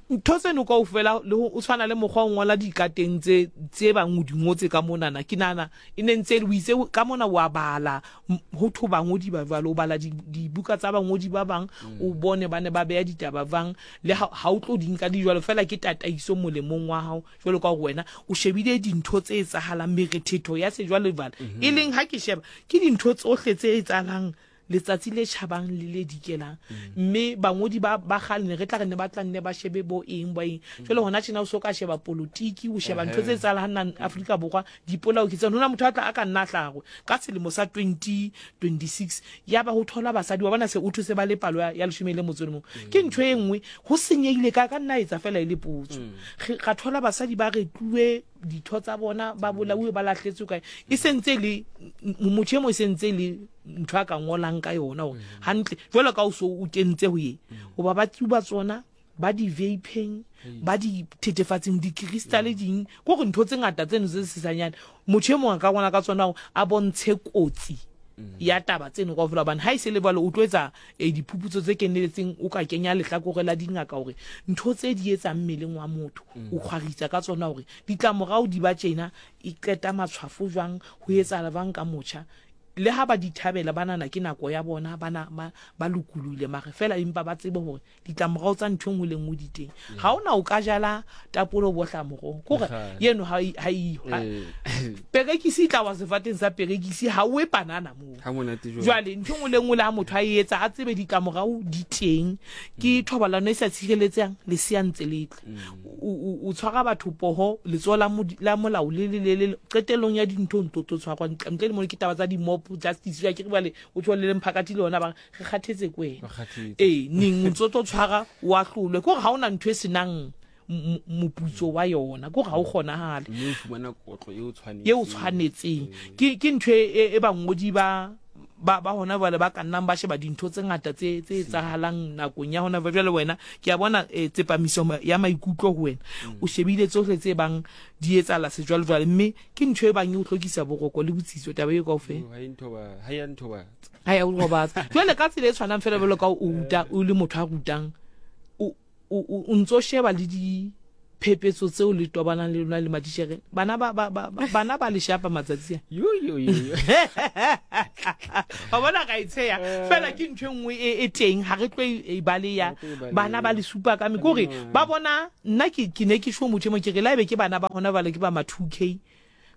ntho tseno kaofela le o tshwana le mokgwa o ngola dikateng tse tse bang o di ngotse ka monana ke nana E ne ntse o itse ka mona wa bala ho thwe bangodi ba jwalo o bala dibuka tsa bangodi ba bang mm. o bone ba ne ba beya ditaba bang le ha o tlo di nka di jwalo fela ke tataiso molemong wa hao jwalo ka gore wena o shebile dintho tse etsahalang merethetho ya sejwalejwale mm -hmm. e leng ha ke sheba ke dintho tsohle tse etsahalang letsatsi le tjhabang le le dikelang mme bangodi ba ba kgale ne re tla re ne ba tla nne ba shebe bo eng bo eng jwale hona tjena o so ka sheba politiki o sheba ntho tse etsahalang Afrika Borwa dipolao ke tsena hona motho a tla a ka nna hlahwe ka selemo sa 2026 ya ba ho thola basadi wa bona se o thuse ba le palo ya leshome le motso le mong ke ntho e nngwe ho senyehile ka ka nna etsa fela e le potso ga thola basadi ba retluwe ditho tsa bona ba bolauwe ba lahletswe kae e sentse le motho e mong e sentse le ntho a ka ngolang ka yona gore mm. hantle jalo ka o so o kentse ho ye mm. goba ba tsuba tsona ba di vapeng mm. ba di thetefatseng dikristale ding ko gore ntho tse ngata tseno tse sesanyane motho e mongwe a ka ngwala ka tsona a bontshe kotsi ya taba tseno ka ofela hobane ha e se le jwalo o tlo etsa eh, diphuputso tse keneletseng o ka kenya lehlakore la dingaka hore ntho tse di etsang mmeleng wa motho o kgwaritsa ka tsona hore ditlamorao di ba tjena e qeta matshwafo jwang ho etsahala jwang ka motjha le ha ba di thabela ba nana ke nako ya bona ba ba ba lokolohile mare fela empa ba tsebe hore ditlamorao tsa ntho e nngwe le nngwe di teng ga o na o ka jala tapole o bohla morogo kore yeno ga iyo perekisi e tla wa sefateng sa perekisi ga o e panana moo jwale ntho e nngwe le nngwe le ga motho a e etsa a tsebe ditlamorao di teng ke thobalano e sa tshireletsang lesea ntse le tle o tshwara batho poho letsoho la molao le le le qetellong ya dintho ntlo tlo tshwarwa ntle le mo ke taba tsa di-mob justice ya ke re bale o tswa le lemphakathi le yona ba re kgathetse ko wena ee neng o ntse o tlo tshwara o ahlolwe ke gore ga o na ntho e senang moputso wa yona ko ga o kgonagale mme o fumana kotlo e o tshwanetseng e o tshwanetseng ke ke ntho e, e bangodi ba ba ba hona jwale ba ka nnang ba sheba dintho tse ngata tse tse etsahalang nakong ya hona jwale. Wena ke a bona eh, tsepamiso ya maikutlo ho wena mm. o shebile tsohle tse bang di etsahala sejwalejwale, mme ke ntho e bang e o hlokisa boroko le botsitso taba e kaofela. Ha ya o robatsa. Jwale ka tsela e tshwanang fela jwalo ka o ruta, o le motho a rutang, o ntso sheba le di phepetso tseo le tobanang le lona le matitjhere. Bana ba ba ba bana ba le shapa matsatsi a. Yo yo yo. Wa bona ka itsheya eh. fela ke ntho e nngwe e, e teng ha re tlo e, e baleya bana ba le supa ka me kore ba bona nna ke ke ne ke sho motho e mong ke re la ebe ke bana ba hona bale ke ba ma 2K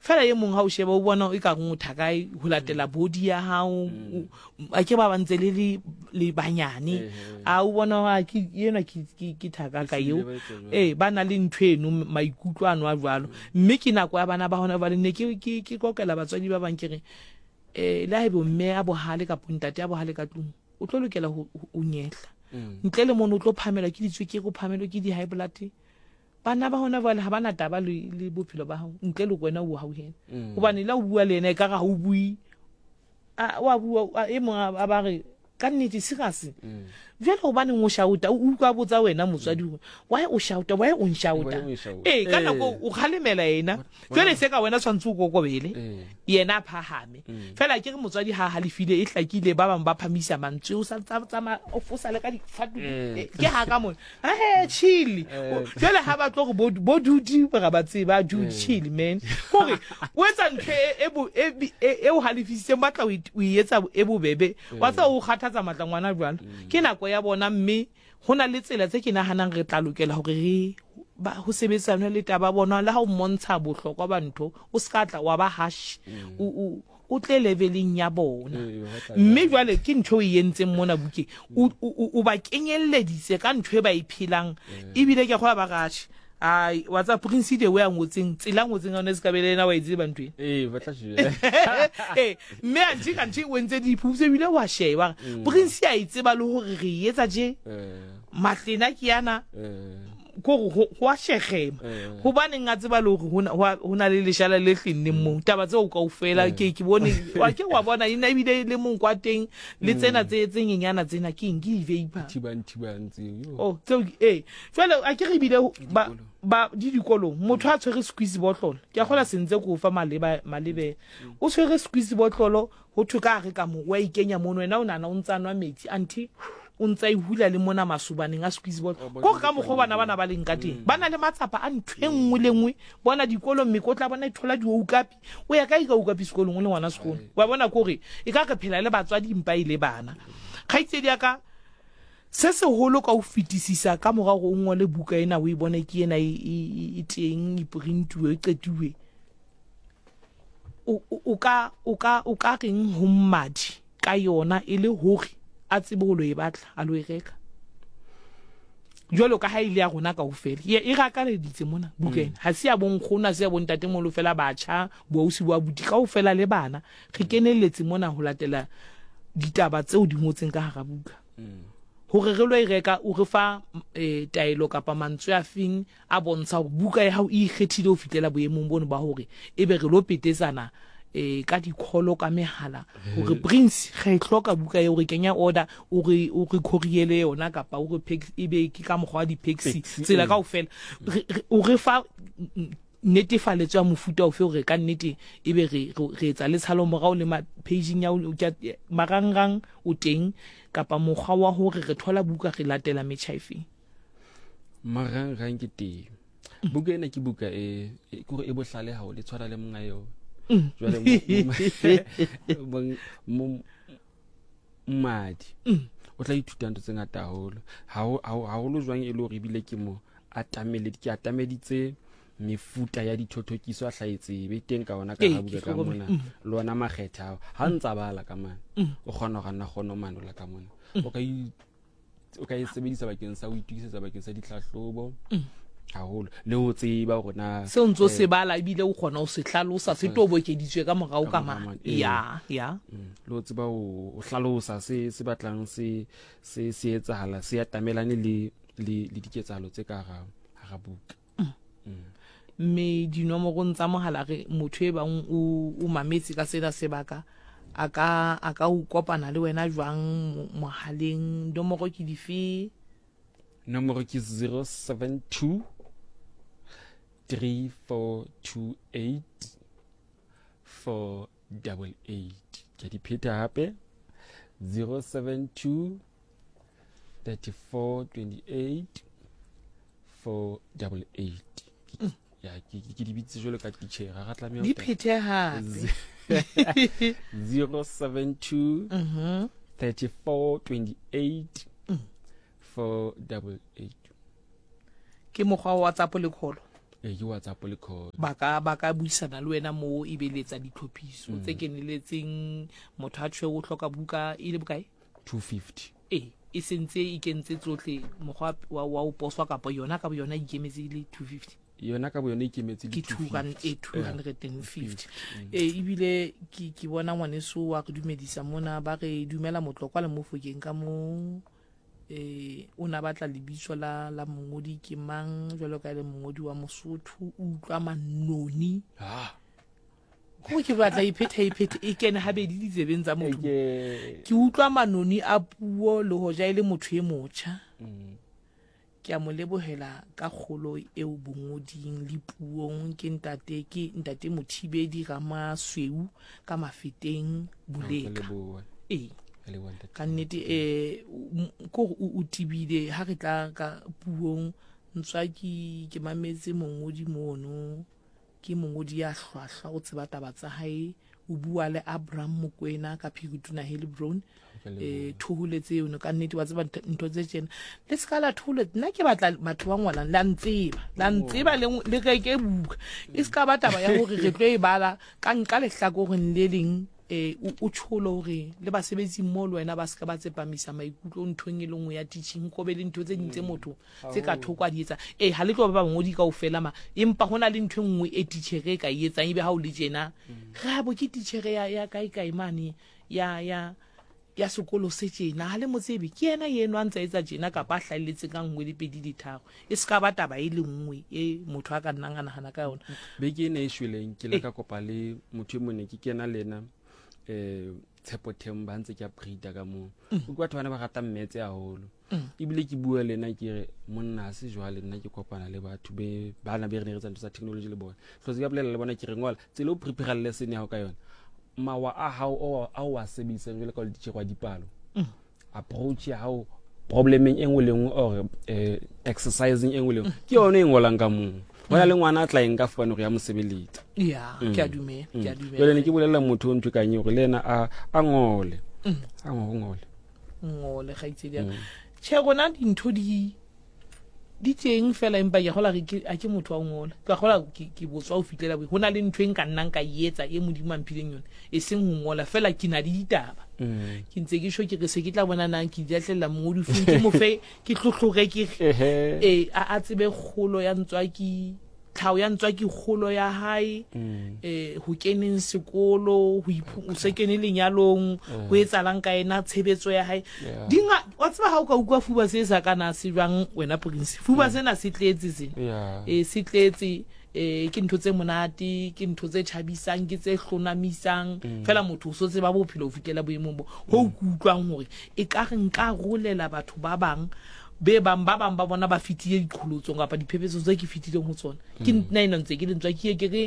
Fela e mong ha o sheba o bona e ka reng o thakae ho latela body ya hao mm. a ke ba ba ntse le le le banyane a o bona a ke ena ke ke ke thaka ka eo eh ba na le ntho eno maikutlo ano a jwalo mm. mme ke nako ya bana ba hona ba ne ke ke ke kokela batswadi ba bang ke re eh le haebe mme a bohale kapa ntate a bohale ka tlung o tlo lokela ho o nyehla mm. ntle le mono o tlo phamelwa ke ditswekere o phamelwe ke di high blood. Bana ba hona jwale ha ba na taba le, le bophelo ba hao ntle le wena o hauhela mm. Gobane la o bua le yena e ka ga o bue wa bua e mongwe a ba re ka nnete serious mm. Jwale gobaneng o shouta o utlwa botsa wena motswadi gore why o shouta why o nshouta ee ka nako o kgalemela ena jwale se ka wena tshwanetse o kokobele yena a phahame mm. Fela ke re motswadi ha halefile e hlakile ba bangwe ba phamisa mantswe o sa tsamaya o fosa le ka difatu eh, ke ha ka mone ahe chili eh. Jwale ha ba tlo gore bo dudi ga ba tseba dude eh. Chili man kore o etsa ntho e, e, e o halefisitseng batla o e etsa e bobebe wa tseba o kgathatsa matla ngwana jwalo mm. Ke nako ya bona mme go na le tsela tse ke naganang re tla lokela gore re ba go sebetsanwe le taba bona le ha o mmontsha bohlokwa ba ntho o se ka tla wa ba hash mm. o o tle leveleng ya bona mme jwale ke ntho e entseng mona bukeng o ba kenyelleditse ka ntho e ba e phelang ebile ke kgola ba ratjhe ai wa tsa prince the way a ngotseng tsela ngotseng yone se ka bele ena wa e tseba ntho ee ba tla ee mme anthe kanthe o entse diphuputso ebile wa sheba mm. Prince a e tseba le gore re e etsa je matlena ke yana ko go a shegema gobaneng a tseba le gore go na le lešala le tlenneng moo taba tseo kaofela ke ke bone wa ke wa bona ena ebile le mong kwa teng le tsena tse tse nyenyana tsena ke eng ke di-vapor oh tseo ee jale a ke re ebile ba ba di dikolong motho a tshwere squeeze botlolo ke a kgola sentse ko fa maleba malebe o tshwere squeeze botlolo Ho thwe ka hare ka mo, o a ikenya mono, wena o nahana o ntsa nwa metsi, anthe o ntsa e hula le mona masobaneng a squeeze bottle. Ko re ka mokgwa bana bana ba leng ka teng. Ba na le matsapa a ntho e nngwe le nngwe. Bona dikolong mekotla bona e thola dioukapi. O ya kae ka oukapi sekolong o le ngwana sekolo? Wa bona ko re e ka re phela le batswadi mpa e le bana. Kgaitsedi ya ka se seholo ka ho fetisisa ka mora hore o ngole buka ena o e bone ke ena e, e, e, e teng e printuwe e qetuwe. O ka o ka o ka reng ho mmadi ka yona e le hore a tsebe ho lo e batla a lo e reka jwalo ka ha ile ya rona kaofela e e rakaleditse mona buka ena ha se ya bonkgono ha se ya bontatemolo fela batjha boausi bo abuti kaofela le bana re kenelletse mona ho latela ditaba tseo di ngotseng ka hara buka hore re lo e reka o re fa eh, taelo kapa mantswe a feng a bontsha hore buka ya hao e ikgethile ho fihlela boemong bono ba hore ebe re lo petetsana eh ka dikholo ka mehala hore Prince re e hloka buka eo re kenya order o re o re courier yona kapa o re pack ebe ke ka mokgwa wa di-paxi tsela kaofela o re fa netefaletso ya mofuta ofe hore ka nnete ebe re re etsa le tshalo morao le paging ya marangrang o teng kapa mokgwa wa hore re thola buka re latela metjha efeng. Marangrang ke teng buka ena ke buka e e kore e bohlale haholo e tshwana le monga yona mm. jwale mmadi mm. o tla ithuta ntho tse ngata haholo haholo jwang e le hore ebile ke mo ke atameditse mefuta ya dithothokiso a hlaetse be teng ka ona ka ga buka ka mona mm. le ona makgetha ao ga ntsa bala ka mane o kgona go nna kgona manola ka mona o ka o ka e sebedisa bakeng sa ho itokisetsa bakeng sa ditlhahlobo mm. haholo le ho tseba hore na se o ntse o se eh, bala ebile o kgona ho se hlalosa se tobokeditswe ka morao ka ma ya ya mm. le ho tseba ho hlalosa se se batlang se se se etsahala se atamelane le le le diketsahalo tse ka hara hara buka. Mme dinomorong tsa mohala re motho e bang o o mametse ka sena sebaka a ka a ka o kopana le wena jwang mohaleng nomoro ke dife? Nomoro ke 072 3428 488. Ke di pheta hape 072 34 28 488. Ya ke ke di bitse jwalo ka teacher ga tlameha di phethe hape 072 34 28 488. Ke mokgwa wa WhatsApp le call. Ee, ke WhatsApp le call. Ba ka ba ka buisana le wena moo e be le etsa ditlhophiso tse keneletseng. Motho a tjhe o hloka buka e le bokae? 250. Ee, e sentse e kentse tsohle mokgwa wa wa o poswa kapa yona ka boyona e ikemetse e le 250? Yona ka boyona e ikemetse le ke 250. Ee, ebile ke ke bona ngwaneso wa re dumedisa mona ba re dumela Motlokwa le Mofokeng ka mo eh o na batla lebitso la la mongodi ke mang jwalo ka e le mongodi wa Mosotho o utlwa manoni. Ah. Go ke batla iphetha iphethe e kene habedi ditsebeng tsa motho. Ke utlwa manoni a puo le hoja e le motho e motjha. Ke a mo lebohela ka kgolo eo bongoding le puong ke ntate ke ntate Mothibedi Ramasweu ka Mafeteng Boleka. Ee. Ka nnete eh ko o tibile ha re tla ka puong ntswaki ke mametse mongodi mono. Ke mongodi ya hlwahlwa, o tseba taba tsa hae. O bua le Abraham Mokoena ka Phiritona Heilbron. Eh, thoholetse eno ka nnete wa tseba ntho tse tjena. Le se ka la thoholetsa. Nna ke batla batho ba ngwalang, la ntseba. La ntseba le, le reke buka. E se ka ba taba ya hore re tlo e bala ka nka lehlakoreng le leng eh, o tjholo hore le basebetsi mmoho le wena ba se ka ba tsepamisa maikutlo nthong e le nngwe ya teaching, ko be le ntho tse ding tse motho tse ka thoko a di etsa. Ee, ha le tlo ba bangodi kaofela ma, empa ho na le ntho e nngwe e titjhere e ka e etsang ebe ha o le tjena. Re a bo ke titjhere ya, ya kae kae mane ya, ya, ya sekolo se tjena, ha le mo tsebe, ke yena eno a ntse a etsa tjena kapa a hlahelletse ka nngwe le pedi le tharo. E se ka ba taba e le nngwe e motho a ka nnang a nahana ka yona. Beke ena e shweleng ke ile ka kopa le motho e mong ne ke kena le ena eh Tshepo Themba ntse ke upgrade ka moo. O ke batho bana ba ratang mmetse haholo. Ebile ke bua le ena ke re monna ha se jwale nna ke kopana le batho be bana be re ne re etsa ntho tsa technology le bona. Hlotse ka bolela le bona ke re ngola tsela o prepare lesson ya hao ka yona. Mawa a hao o a o a sebedisang jwalo ka o le teacher wa dipalo. Approach ya hao problemeng e nngwe le nngwe or eh, exercising e nngwe le nngwe ke yone e ngolang ka moo. Ho na le ngwana a tla eng ka fane gore ya mo sebeletsa. Ya, ke a dumela, ke a dumela. Jwale ne ke bolelela motho o ntho kang eo gore le ena a a ngole. A ngole. Ngole kgaitsedi ya ka. Tjhe, rona dintho di di teng fela empa ke gola ke a ke motho wa ngola. Ke gola ke ke botswa ho fitlela ho na le ntho e nka nnang ka e etsa e Modimo a mphileng yone e seng ho ngola fela ke na le ditaba. Ke ntse ke sho ke re se ke tla bona nang ke diatlela mongodi feng ke mo fe ke tlotlore ke re eh a a tsebe kgolo ya ntswaki tlhaho ya ntswaki kgolo ya hae eh ho keneng sekolo ho o se kene lenyalong ho etsalang ka ena tshebetso ya hae dinga wa tseba ha o ka utlwa fuba se sa kana se jwang wena Prince fuba sena se tletse sena eh se tletse eh ke ntho tse monate ke ntho tse thabisang ke tse hlonamisang fela motho o so tseba bophelo ho fitlela boemong bo ho utlwang hore e ka re nka rolela batho ba bang be bang ba bang ba bona ba fetile diqholotsong kapa diphephetso tse ke fetileng ho tsona ke nna ena ntse ke lentswa ke ye ke re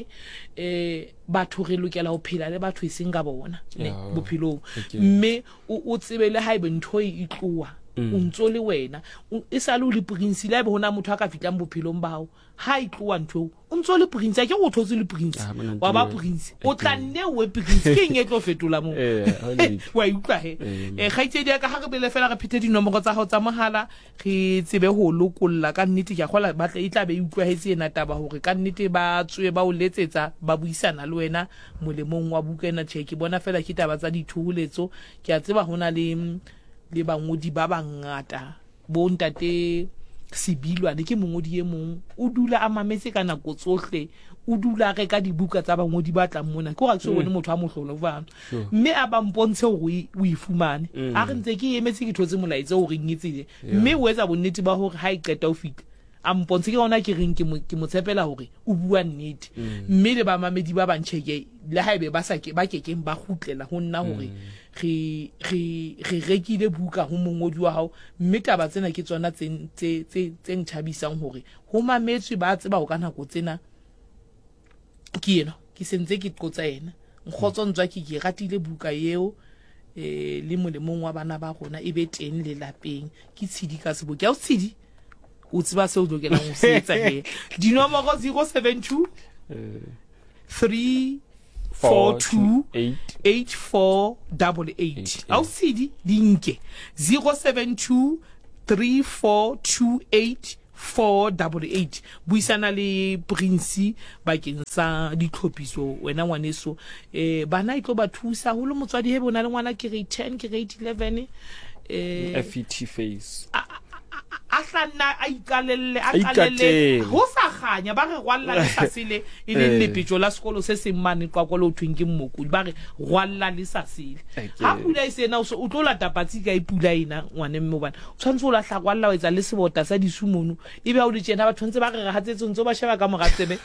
eh batho re lokela ho phela le batho e seng ka bona ne bophelong mme o tsebe le haebe ntho e tloha o ntso le wena e sale o le prince le haebe hona motho a ka fitlang bophelong ba hao ha e tloha ntho eo o ntso le prince a ke go thotse le prince Ah, mona wa ba ntho eo. prince o tla nne o prince ke eng e tlo fetola moo Eh, ha o letho. wa e utlwa he Eh, eh kgaitsedi ya ka ha re bele fela re phethe dinomoro tsa hao tsa mohala re tsebe ho lokolla ka nnete ke a kgola ba tla e tla be e utlwahetse ena taba hore ka nnete ba tswe ba o letsetsa ba buisana le wena molemong wa buka ena tjhe ke bona fela ke taba tsa dithoholetso ke a tseba ho na le le bangodi ba bangata Bo ntate Sebilwane ke mongodi e mong o dula a mametse ka nako tsohle o dula a reka dibuka tsa bangodi ba tlang mona ke gore ke so bone motho a mohlolo jwalo mme a ba mpontshe hore o e fumane a re ntse ke emetse ke thotse molaetsa o reng e tsele mme o etsa bonnete ba hore ha e qeta ho fihla A mpontshe ke gona ke reng ke mo ke mo tshepela hore o bua nnete. Mme le bamamedi ba bang tjhe le haebe ba sa ke ba kekeng ba kgutlela ho nna hore re re re rekile buka ho mongodi wa hao mme taba tsena ke tsona tse tse tse tse nthabisang hore ho mametswe ba tseba ho ka nako tsena ke ena ke sentse ke qotsa yena nkgotso ntswa ke ke ratile buka eo eh le molemong wa bana ba rona e be teng lelapeng ke tshidi ka seboki a o tshidi o tseba seo o lokelang ho se etsa he dinomoro 072 3 4 2 8 4 8 a o tshedi di nke 072 3 4 2 8 488 buisana le Prince bakeng sa ditlhophiso wena ngwaneso eh bana e tlo ba thusa holo motswadi hebe o na le ngwana grade 10 grade 11 eh FET face a hla nna a iqalelle a qalelle ho sa kganya ba re rwalla le sa sele e leng lepetjo la sekolo se seng mane Qwaqwa le ho thweng ke Mmokodi ba re rwalla le sa sele ha pula e sena o tlo lata patsi kae pula ena ngwane mme hobane o tshwanetse o lahla rwalla o etsa le sebota sa disu mono ebe ha o le tjena batho ntse ba re re hatsetse ntse o ba sheba ka mora tsebe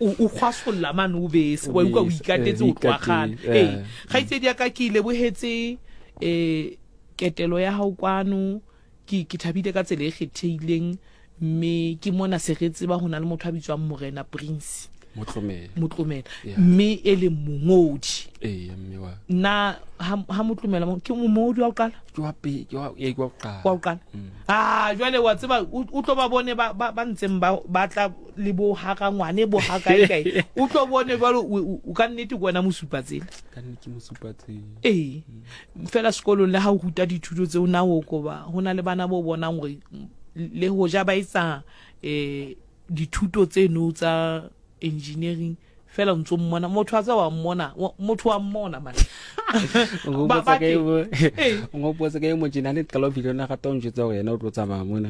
o kgwasolla mane o bese wa utlwa o ikatetse o tloha kgale ee kgaitsedi ya ka ke lebohetse um ketelo ya hao kwano Ke, ke thabile ka tsela e kgethehileng, mme ke mona se re tseba ho na le motho a bitswang Morena Prince. Motlomela. Motlomela. Yeah. Mme e leng mongodi. Ee, mme wa. Nna ha, ha Motlomela ke mongodi wa ho qala? Ke wa pe, ke wa, ee, ke wa ho qala. Wa ho qala. Ah, jwale wa tseba o, o tlo ba bone ba, ba, ba ntseng ba, ba tla le bo haka ngwane bo haka kae. O tlo bone jwale o, o, o ka nnete ke wena mosupatsela. Ka nnete ke mosupatsela. Ee. Fela sekolong le ha o ruta dithuto tseo na o koba ho na le bana bo bonang hore le hoja ba etsa eh dithuto tseno tsa engineering fela o ntso mmona motho a tsa wa mmona motho wa mmona man ngopotsa ka e motjena le qala ho fihla na rata o njwetsa hore yena o tlo tsamaya mona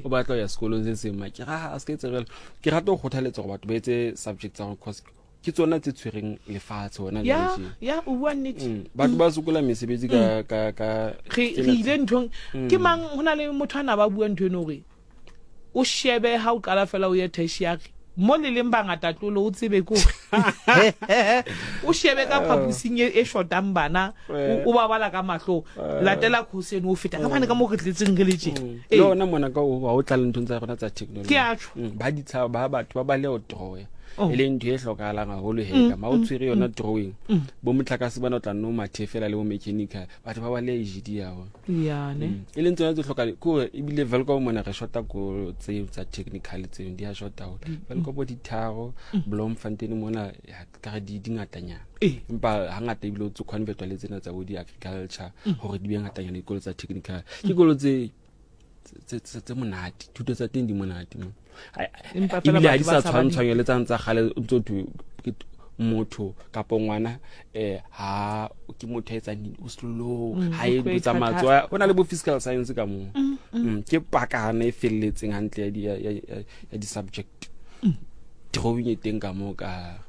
o batla ho ya sekolong se seng ma ke ra a se ke etse jwalo ke rata ho kgothaletsa hore batho ba etse subject tsa gore cause ke tsona tse tshwereng lefatshe hona ya ya o bua nnete mm. batho ba sokola mesebetsi ka mm. ka ka re re ile nthong mm. ke mang ho na le motho ana ba bua ntho eno hore o shebe ha o qala fela o ye tertiary mo le leng bangata tlolo o tsebe ko o shebe ka phaposing e, e shotang bana o ba bala ka mahlo latela course eno o feta ka bane ka mo re tletseng re le tje le ona mona ka o o tla le nthong tsa rona tsa technology ke a tjho ba ditshaba ba batho ba ba le o draw oh. e leng ntho e hlokahalang haholo he ka ma o mm, tshwere yona mm. drawing mm. bo motlakase bana o tla nno mathe fela le bo mechanical batho ba ba le agd yago e leng tsona tse tlhokang kore ebile velcom mona re shota ko tseo tsa technical tseo di a shota haholo velcom bo ditharo Bloemfontein mona ka re di ngatanyana eh. empa hangata ebile o tse convertwa le tsena tsa bo di-agriculture gore di be ngatanyana dikolo tsa technical ke dikolo tse tse monate thuto tsa teng di monate mo ebile ga di sa tshwantshwanya le tsang tsa gale o ntse thwe motho kapo ngwana um ha ke motho a etsang o slow mm, ha e dilo tsa matsoa go na le bo physical science ka moo mm, mm. ke pakana e feleletseng hantle ya di-subject drawing e teng ka moo ka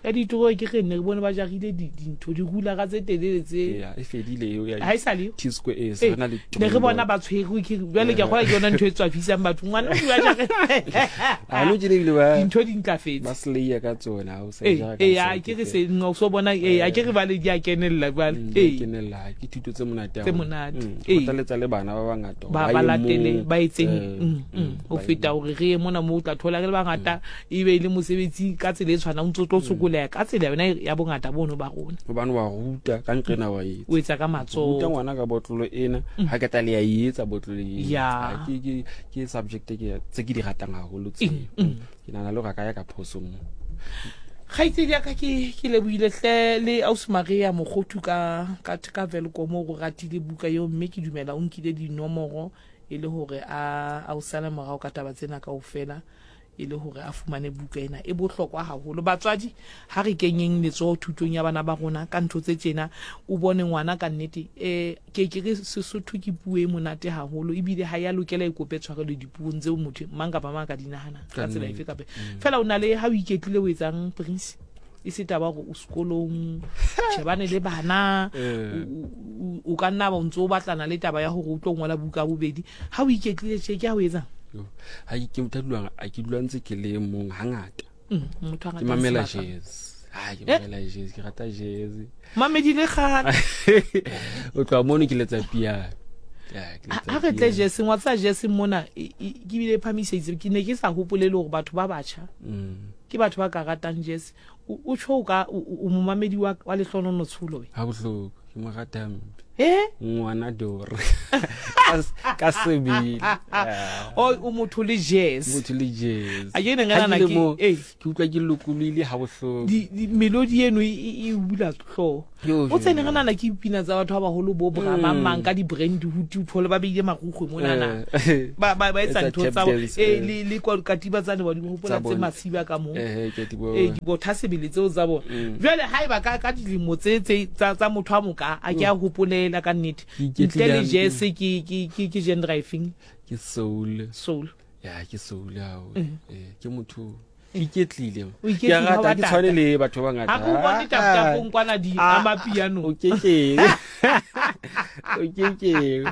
ya ditoro ke re ne re bone ba jarile dintho dirulara tse telele tse e fedile eo ya ha e sa le T-square e se na le ne re bona ba tshwerwe ke jwale ke gola ke yona ntho e tswafisang batho ngwana o bua jare a no tšene bile ba dintho di ntlafetse ba slayer ka tsona o sa jara ka ee a ke re se no so bona ee a ke re ba le di a kenella jwale mm, ee kenella ke thuto tse monate tse monate mm, ee kgothaletsa le bana ba bangata ba ba latele ba etseng mm, ho feta hore re ye mona mo o tla thola re le bangata e be e le mosebetsi ka tsela e tshwanang o ntse o tlo sokoleha ka tsela yona ya bongata bono ba rona gobane wa ruta ka nqena wa etsa o etsa ka matsoho ruta ngwana ka botlolo ena mm. ha ke tla le ya e etsa botlolo ena ya ke ke ke subject ke tse ke di ratang haholo tse mm, mm. ke nahana le gore ka ya ka phoso mo kgaitsedi ya ka ke ke lebohile hle le ausi Maria Mokgothu ka ka ka Welkom o ratile buka eo mme ke dumela o nkile dinomoro e le hore a a o sale morao ka taba tsena kaofela e le hore a fumane buka ena e bohlokwa haholo. Batswadi, ha re kenyeng letsoho thutong ya bana ba rona ka ntho tse tjena. O bone ngwana ka nnete eh ke ke re Sesotho ke puo e monate haholo ebile ha ya lokela e kope tshwarelo dipuong tseo motho mang kapa mang a ka di nahanang ka tsela efe kapa mm. fela o na le ha o iketlile o etsang Prince e se taba gore o sekolong shebane le bana eh. o ka nna ba o ntse o batlana le taba ya gore o tlo ngola buka bobedi ha o iketlile tje ke ha o etsang. Ha ke motho a dulang a ke dula ntse ke le mong hangata. Motho a Ke ratang mamela sebaka. jazz. Ha ke Eh? mamela jazz, ke rata jazz. Mamedi le kgale. O tloha mono ke letsa piano. Ya, ke letsa Ha re tle piano. jeseng wa tsa jeseng mona ke bile e phamiseditse ke ne ke sa hopole le hore batho ba batjha ke batho ba ka ratang jazz. O tjho o ka o momamedi wa Lehlonono Tsholo we. Ha bohloko, ke mo rata hampe. Eh? Ngwana Dore. Ka sebele. O o motho le jazz. Motho le jazz. A ke ne Ha ngana ke le ke mo, eh ke utlwa ke lokolohile ha bohloko. Di melody eno e bula hlooho. Yo, O tsene yo. re nana ke pina tsa batho ba baholo bo bra ba mang ka di brand hood o thole ba beile marukgwe monana. Ba etsa Etsa ntho tap tsa dance, eh le kwa katiba tsane wa di hopola Tsa tse bona. masiba ka mo. Eh, ke di bona. Eh, dibotha sebele tseo tsa bona. Jwale haeba ka dilemo tse tse tsa motho a moka a ke a hopolela ka nnete. Ke iketlile Ntle le hampe. jazz ke genre efeng? Ke soul. Soul. Ya, ke soul haholo. Eh, ke motho ke iketlile. O iketlile, Ke a ha rata, wa ke tshwane tata. le batho ba bangata. Ha ke o bone taptapong kwana di Ah, amapiano. O kekeng. O kekeng.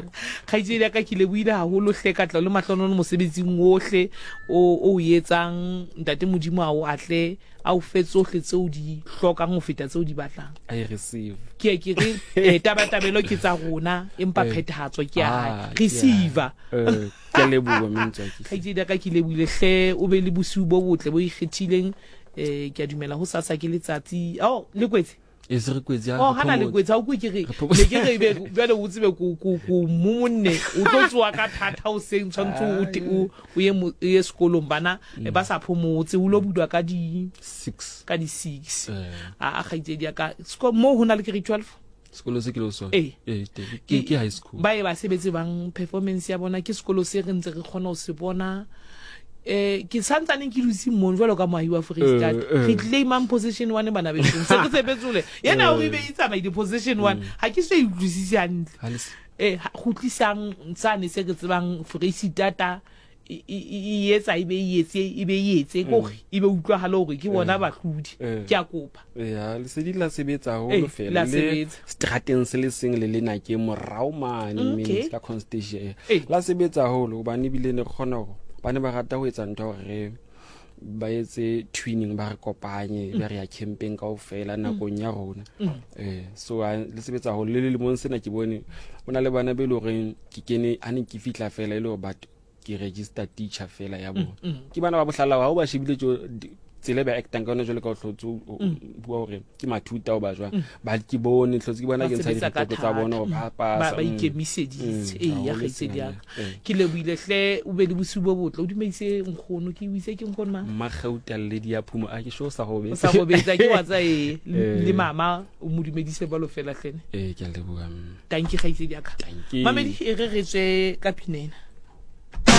Kgaitsedi ya ka ke lebohile haholo hle ka tla le mahlonono mosebetsing ohle o o etsang. Ntate Modimo a o atle a o fe tsohle tseo di hlokang ho feta tseo di batlang. I receive. Ke ke re tabatabelo ke tsa rona empa phethahatso ke ya hae. Ah, ke ya hae. Receiver. Ke a leboha mme Ntswaki. Kgaitsedi ya ka ke lebohile hle, o be le bosiu bo botle bo ikgethileng. Ke a dumela ho sasa ke letsatsi. Oh, le kwetse? E se re kwetse, ha Oh, re hana le phomotse. kwetse, ha o kwe ke re, Re phomotse. ne ke re ebe, jwale o tsebe ko momonne, o tlo tsoha ka thata hoseng, tshwantse o te-, o ye mo-, o ye sekolong, bana, ba sa phomotse, o lo bulwa ka di 6. Ka di 6. A kgaitsedi ya ka, moo ho na le grade 12? Sekolo se ke le ho sona? Ee. Ee, teng. Ke high school. Ba e ba sebetse bang performance ya bona, ke sekolo se re ntse re kgona ho se bona. Ke santsaneng ke dutse mono jwalo ka moahi wa Freistata. Re claimang position 1 bana besong. Se re sebetsole. Yena o re be e tsamaile position 1. Ha ke so e utlwisise hantle. Ha le se- Kgutlisang sane se re tsebang Freistata e etsa e be e etse, e be e etse, kore e be utlwahale hore ke bona bahlodi. Ke a kopa. Ya, lesedi la sebetsa haholo fela. La Le sebetsa. strateng se le seng le lena ke morao mane, mme ka Constantia. La sebetsa haholo hobane ebile ne re kgona hore ba ne ba rata ho etsa ntho ya hore re ba etse twinning, ba re kopanye, ba re ya campeng kaofela nakong ya rona. So, le sebetsa haholo. Le lemong sena ke bone ho na le bana be leng horeng ke kene, ha ne ke fihla fela e le hore batho ke register teacher fela ya bona. Ke bana ba bohlala ha o ba shebile tjo, tsela e ba actang ka yona jwalo ka o hlotse o bua hore ke mathuta o ba jwang. Ba ke bone, hlotse ke bona Ba ke ntsha sebetsa ka direkoto tsa bona hore thata. ba pasa. Ba ikemiseditse. Ee, ya Haholo kgaitsedi ya sena, ka. Ke lebohile hle, o be le bosiu bo botle. O dumedise nkgono, ke o itse ke nkgono mang? Mmakgauta Lady ya Phumo, a ke sure o sa robetse. O sa robetse, ke wa tsa e, le mama, o mo dumedise jwalo fela hlene. Ke a leboha, mme. Tanki kgaitsedi ya ka. Tanki. Mamedi, e re re tswe ka pinena.